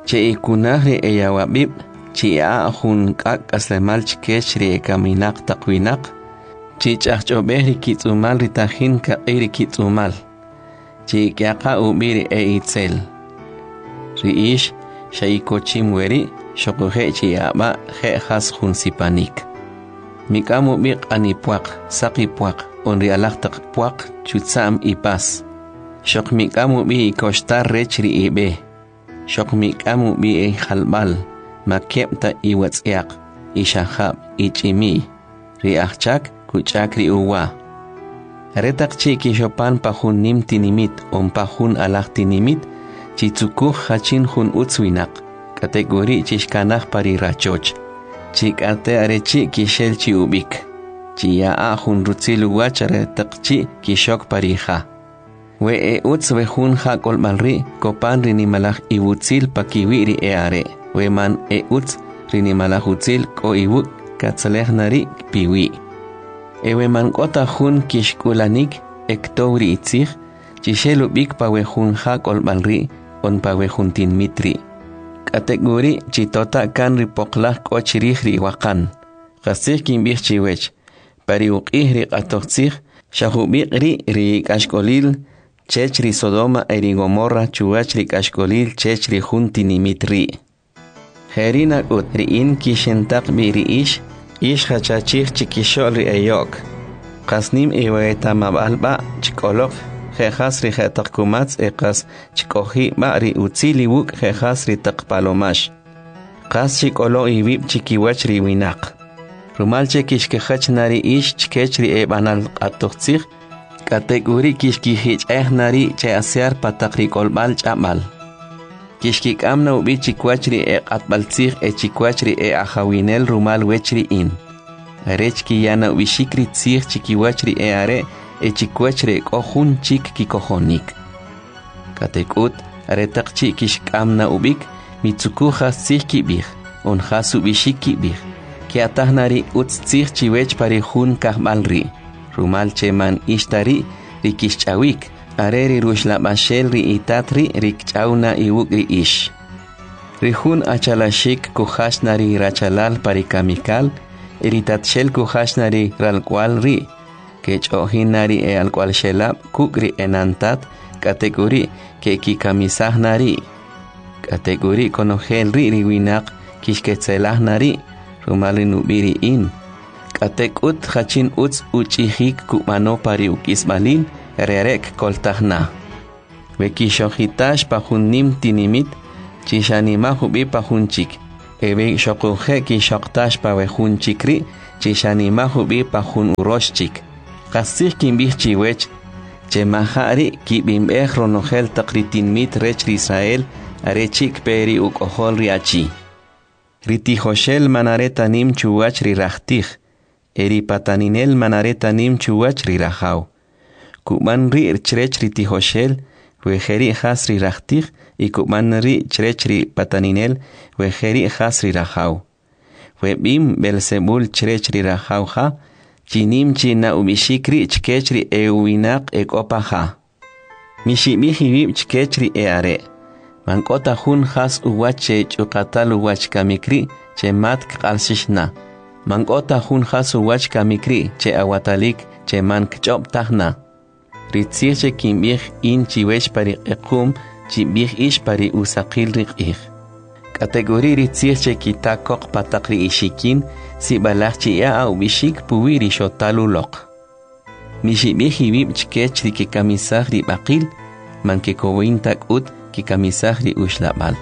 Che'ikunaj ri eyawab'ib', chiya'a jun k'ak' k'aslemal chkech ri ekaminaq taq winaq, chich'ajch'ob'ej ri kitz'umal ri tajin kaq'i ri kitz'umal, chi'k'yaqa ub'i ri e'itzel. Ri ix xa ikochim weri', xoquje' chiya'a je' jas jun sipanik. Mik'am ub'i q'anipwaq, saqipwaq, on ri alaj taq pwaq chutza'm ipas. Xoq mik'am ub'i ikoxtar rech ri ib'e. Xoq mik'am ub'i ijalb'al, ma keb' ta iwatz'yaq, ixajab', ich'imi'y. Ri ajchak kuch'ak ri uwa. Aretaq chi' kixopan pa jun nim tinimit on pa jun alaj tinimit, chitzukuj jachin jun utz winaq, k'atek'uri' chixkanaj pa ri rachoch. Chik'ate arechi' kixel chi ub'ik. Chiya'a jun rutzil uwach aretaq chi' kixok pa ri ja. We e utz we jun ja k'olb'al ri' kopan ri nimalaj iwutzil pakiwi' ri e'are'. We man e utz ri nimalaj utzil k'o iwuk' katzalej na ri' piwi'. E we man k'o ta jun kixk'ulanik e ktow ri itzij, chixel ub'ik pa we jun ja k'olb'al ri' on pa we jun tinmit ri'. K'atek'uri' chitota' kan ri poqlaj k'o chirij ri iwaqan. Qastzij kinb'ij chiwech, pa ri uq'ij ri q'atoj tzij, xa jub'iq' ri' ri k'axk'olil chech ri Sodoma e ri Gomorra chuwach ri k'axk'olil chech ri jun tinimit ri'. Jeri' nak'ut ri in kixintaq b'i ri ix, ix jachachij chikixo'l ri eyo'k. Qas nim iweta'mab'al b'a chik'oloq je' jas ri je'taq kumatz e qas chik'oji' b'a ri utzil iwuk' je' jas ri taq palomax. Qas chik'olo iwib' chikiwach ri winaq. Rumal che kixkijach na ri ix chkech ri eb'anal q'atoj tzij, k'atek'uri' kixkijich'ej na ri che asyar pa taq ri k'olb'al ch'ab'al. Kixkik'am na ub'i chikwach ri eq'atb'al tzij e chikwach ri e'ajawinel rumal wech ri in. Arech kiya na ub'ixik ri tzij chikiwach ri e'are' e chikwach ri k'o jun chik kikojonik. K'atek'ut, aretaq chi' kixk'am na ub'ik, mitzukuj jas tzij kib'ij, on jas ub'ixik kib'ij. Ke'ataj na ri utz tzij chiwech pa ri jun kajb'al ri', rumal che man ix ta ri' ri kixch'awik, are ri ruxlab'axel ri itat ri' ri kch'aw na iwuk' ri ix. Ri jun achalaxik kujach na ri rachalal pa ri kamikal, e ri tatxel kujach na ri ralk'wal ri', kech'o'jin na ri e'alk'walxelab' kuk' ri enantat, k'atek'uri' ke'kikamisaj na ri'. K'atek'uri' konojel ri' ri winaq kixketzelaj na ri', rumal ri nub'i ri in. K'atek'ut jachin utz uch'ijik kub'ano pa ri uk'isb'alil, are are' kkoltaj na. We kixojitax pa jun nim tinimit, chixanimaj ub'i pa jun chik, e we xoquje' kixoqtax pa we jun chik ri', chixanimaj ub'i pa jun urox chik. Qastzij kinb'ij chiwech, che maja' ri' kib'inb'ej ronojel taq ri tinimit rech ri Israel are chi' kpe ri uk'ojol ri achi. Ri tijoxel man are ta nim chuwach ri rajtij, e ri pataninel man are ta nim chuwach ri rajaw. Kub'an ri' chrech ri tijoxel we jeri' jas ri rajtij y kub'an ri' chrech ri pataninel we jeri' jas ri rajaw. We b'im Beelzebul chrech ri rajaw ja, chi nim chi na ub'ixik ri' chkech ri e'uwinaq e k'o pa ja. Mixib'ij iwib' chkech ri e'are'. Man k'o ta jun jas uwach che ch'uqatal uwach kamik ri' che mat kq'alxix na. Man k'o ta jun jas uwach kamik ri' che awatalik che man kch'ob' taj na. Ri tzij che kinb'ij in chiwech pa ri q'equm, chib'ij ix pa ri usaqil ri q'ij. K'atek'uri' ri tzij che kita koq pa taq ri ixikin, sib'alaj chiya'a ub'ixik puwi' ri xotal uloq. Mixib'ij iwib' chkech ri kikamisaj ri b'aqil, man kekowin ta k'ut kikamisaj ri uxlab'al.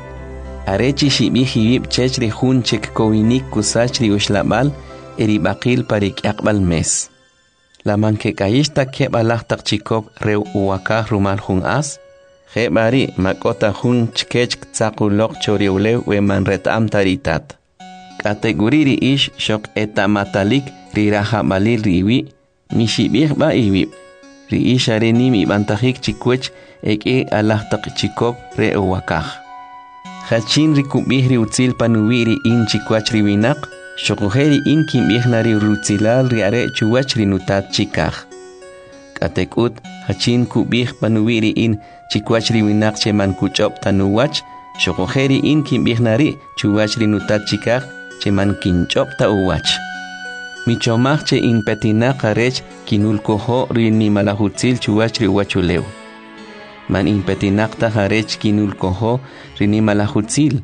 Are chixib'ij iwib' chech ri jun che kkowinik kusach ri uxlab'al e ri b'aqil pa ri k'yaqb'al mes. La man kek'ayix ta keb' alaj taq chikop re uwakaj rumal jun as? Je' b'a ri' ma k'o ta jun chkech ktzaq uloq cho ri ulew we man reta'am ta ri itat. K'atek'uri' ri ix xoq eta'matalik ri rajab'alil ri iwi', mixib'ij b'a iwib'. Ri ix are nim ib'antajik chikwech e k'i alaj taq chikop re uwakaj. Jachin ri kub'ij ri utzil panuwi' ri in chikwach ri winaq, xoquje' ri in kinb'ij na ri rutzilal ri are' chuwach ri nutat chikaj. K'atek'ut, jachin kub'ij panuwi' ri in chikwach ri winaq che man kuch'ob' ta nuwach, xoquje' ri in kinb'ij na ri' chuwach ri nutat chikaj che man kinch'ob' ta uwach. Michomaj che in petinaq arech kinulkojo ri nimalaj utzil chuwach ri uwachulew. Man in petinaq taj arech kinulkojo ri nimalaj utzil,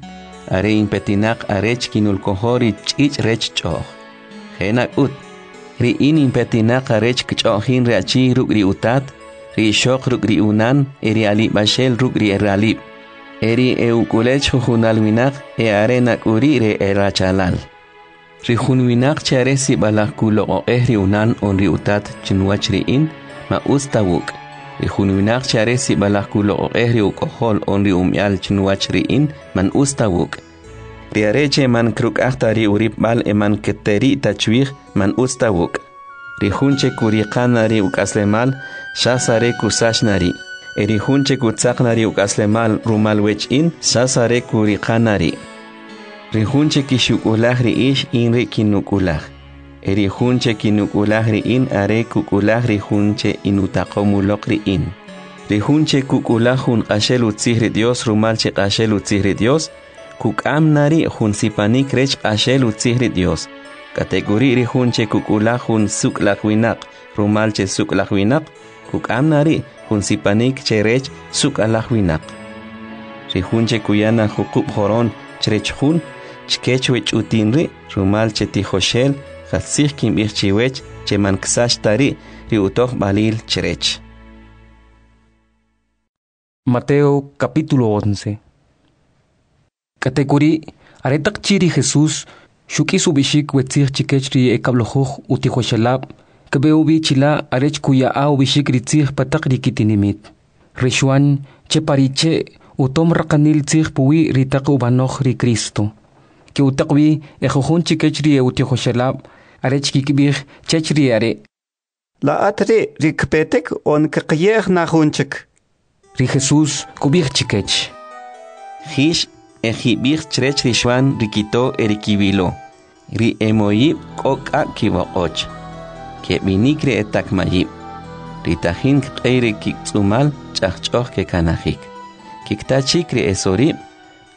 are in petinaq arech kinulkojo ri ch'ich' rech ch'o'j. Je' nak'ut, ri in in petinaq arech kch'o'jin ri achi ruk' ri utat, ri ixoq ruk' ri unan e ri alib'axel ruk' ri ralib'. E ri e'uk'ulel jujunal winaq e are nak'uri' ri erachalal. Ri jun winaq che are sib'alaj kuloq'oq'ej ri unan on ri utat chinwach ri in, ma utz ta wuk'. Ri jun winaq che are sib'alaj kuloq'oq'ej ri uk'ojol on ri umya'l chinwach ri in, man utz ta wuk'. Ri are' che man kruk'aj ta ri uripb'al e man keteri' ta chwij, man utz ta wuk'. Ri jun che kuriqa na ri uk'aslemal, xas are kusach na ri'. E ri jun che kutzaq na ri uk'aslemal rumal wech in, xas are kuriqa na ri'. Ri jun che kixuk'ulaj ri ix, in ri kinuk'ulaj. E ri jun che kinuk'ulaj ri in, are kuk'ulaj ri jun che inutaqom uloq ri in. Ri jun che kuk'ulaj jun q'axel utzij ri Dios rumal che q'axel utzij ri Dios, kuk'am na ri' jun sipanik rech q'axel utzij ri Dios. K'atek'uri' ri jun che kuk'ulaj jun suk'laj winaq rumal che suk'laj winaq, kuk'am na ri' jun sipanik che rech suk'alaj winaq. Ri jun che kuya na juqub' joron chrech jun, chkech we ch'utin ri' rumal che tijoxel, qastzij kinb'ij chiwech che man ksach ta ri' ri utojb'alil chrech. Mateo capítulo once. K'atek'uri' aretaq chi' ri Jesús xuk'is ub'ixik we tzij chikech ri ekab'lajuj utijoxelab', kb'e ub'i chila' arech kuya'a ub'ixik ri tzij pa taq ri kitinimit. Ri Xuan che pa ri che' utom raqanil tzij puwi' ri taq ub'anoj ri Cristo. Ke'utaq wi e jujun chikech ri e'utijoxelab' arech kikib'ij chech ri are'. La at ri' ri kpetik on kqeye'j na jun chik. Ri Jesús kub'ij chikech. Jix e jib'ij chrech ri Xuan ri kito e ri kiwilo. Ri emoyib' k'o k'ak' kib'oq'och. Keb'inik ri etakmayib'. Ri tajin kq'ey ri kiktz'umal ch'ajch'oj kekanajik. Kikta chik ri esorib',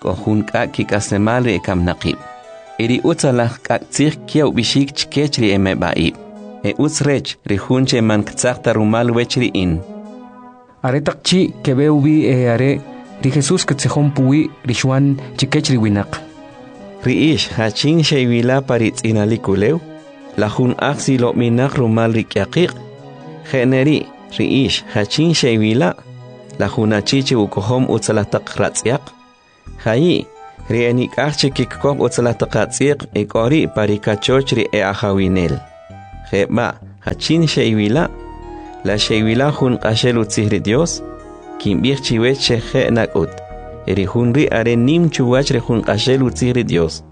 k'o jun k'ak' kik'aslemal ri ekamnaqib'. E ri utzalaj k'ak' tzij kya ub'ixik chkech ri emeb'a'ib'. E utz rech ri jun che man ktzaq ta rumal wech ri in. Aretaq chi' keb'e ub'i e are' ri Jesús ktzijon puwi' ri Xuan chikech ri winaq. Ri ix jachin xe'iwila pa ri tz'inalik ulew, la jun aj silob'inaq rumal ri k'yaqiq'. Je' ne ri' ri ix jachin xe'iwila, La jun achi che ukojom utzalaj taq ratz'yaq? Jayi', ri enik'aj che kikoj utzalaj taq atz'iq e k'o ri' pa ri kachoch ri e'ajawinel. Je' b'a', jachin xe'iwila'? La xe'iwila' jun q'axel utzij ri Dios? Kinb'ij chiwech che je' nak'ut. E ri jun ri' are nim chuwach ri jun q'axel utzij ri Dios.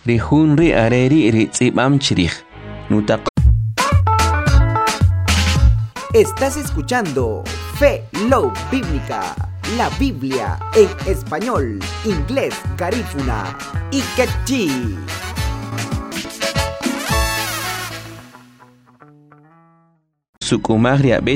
Ri jun ri' are ri' ri tz'ib'am chrij. Nutaq Estás escuchando Fe Love Bíblica, la Biblia en español, inglés, garífuna y quechí. Suk'umaj ri ab'e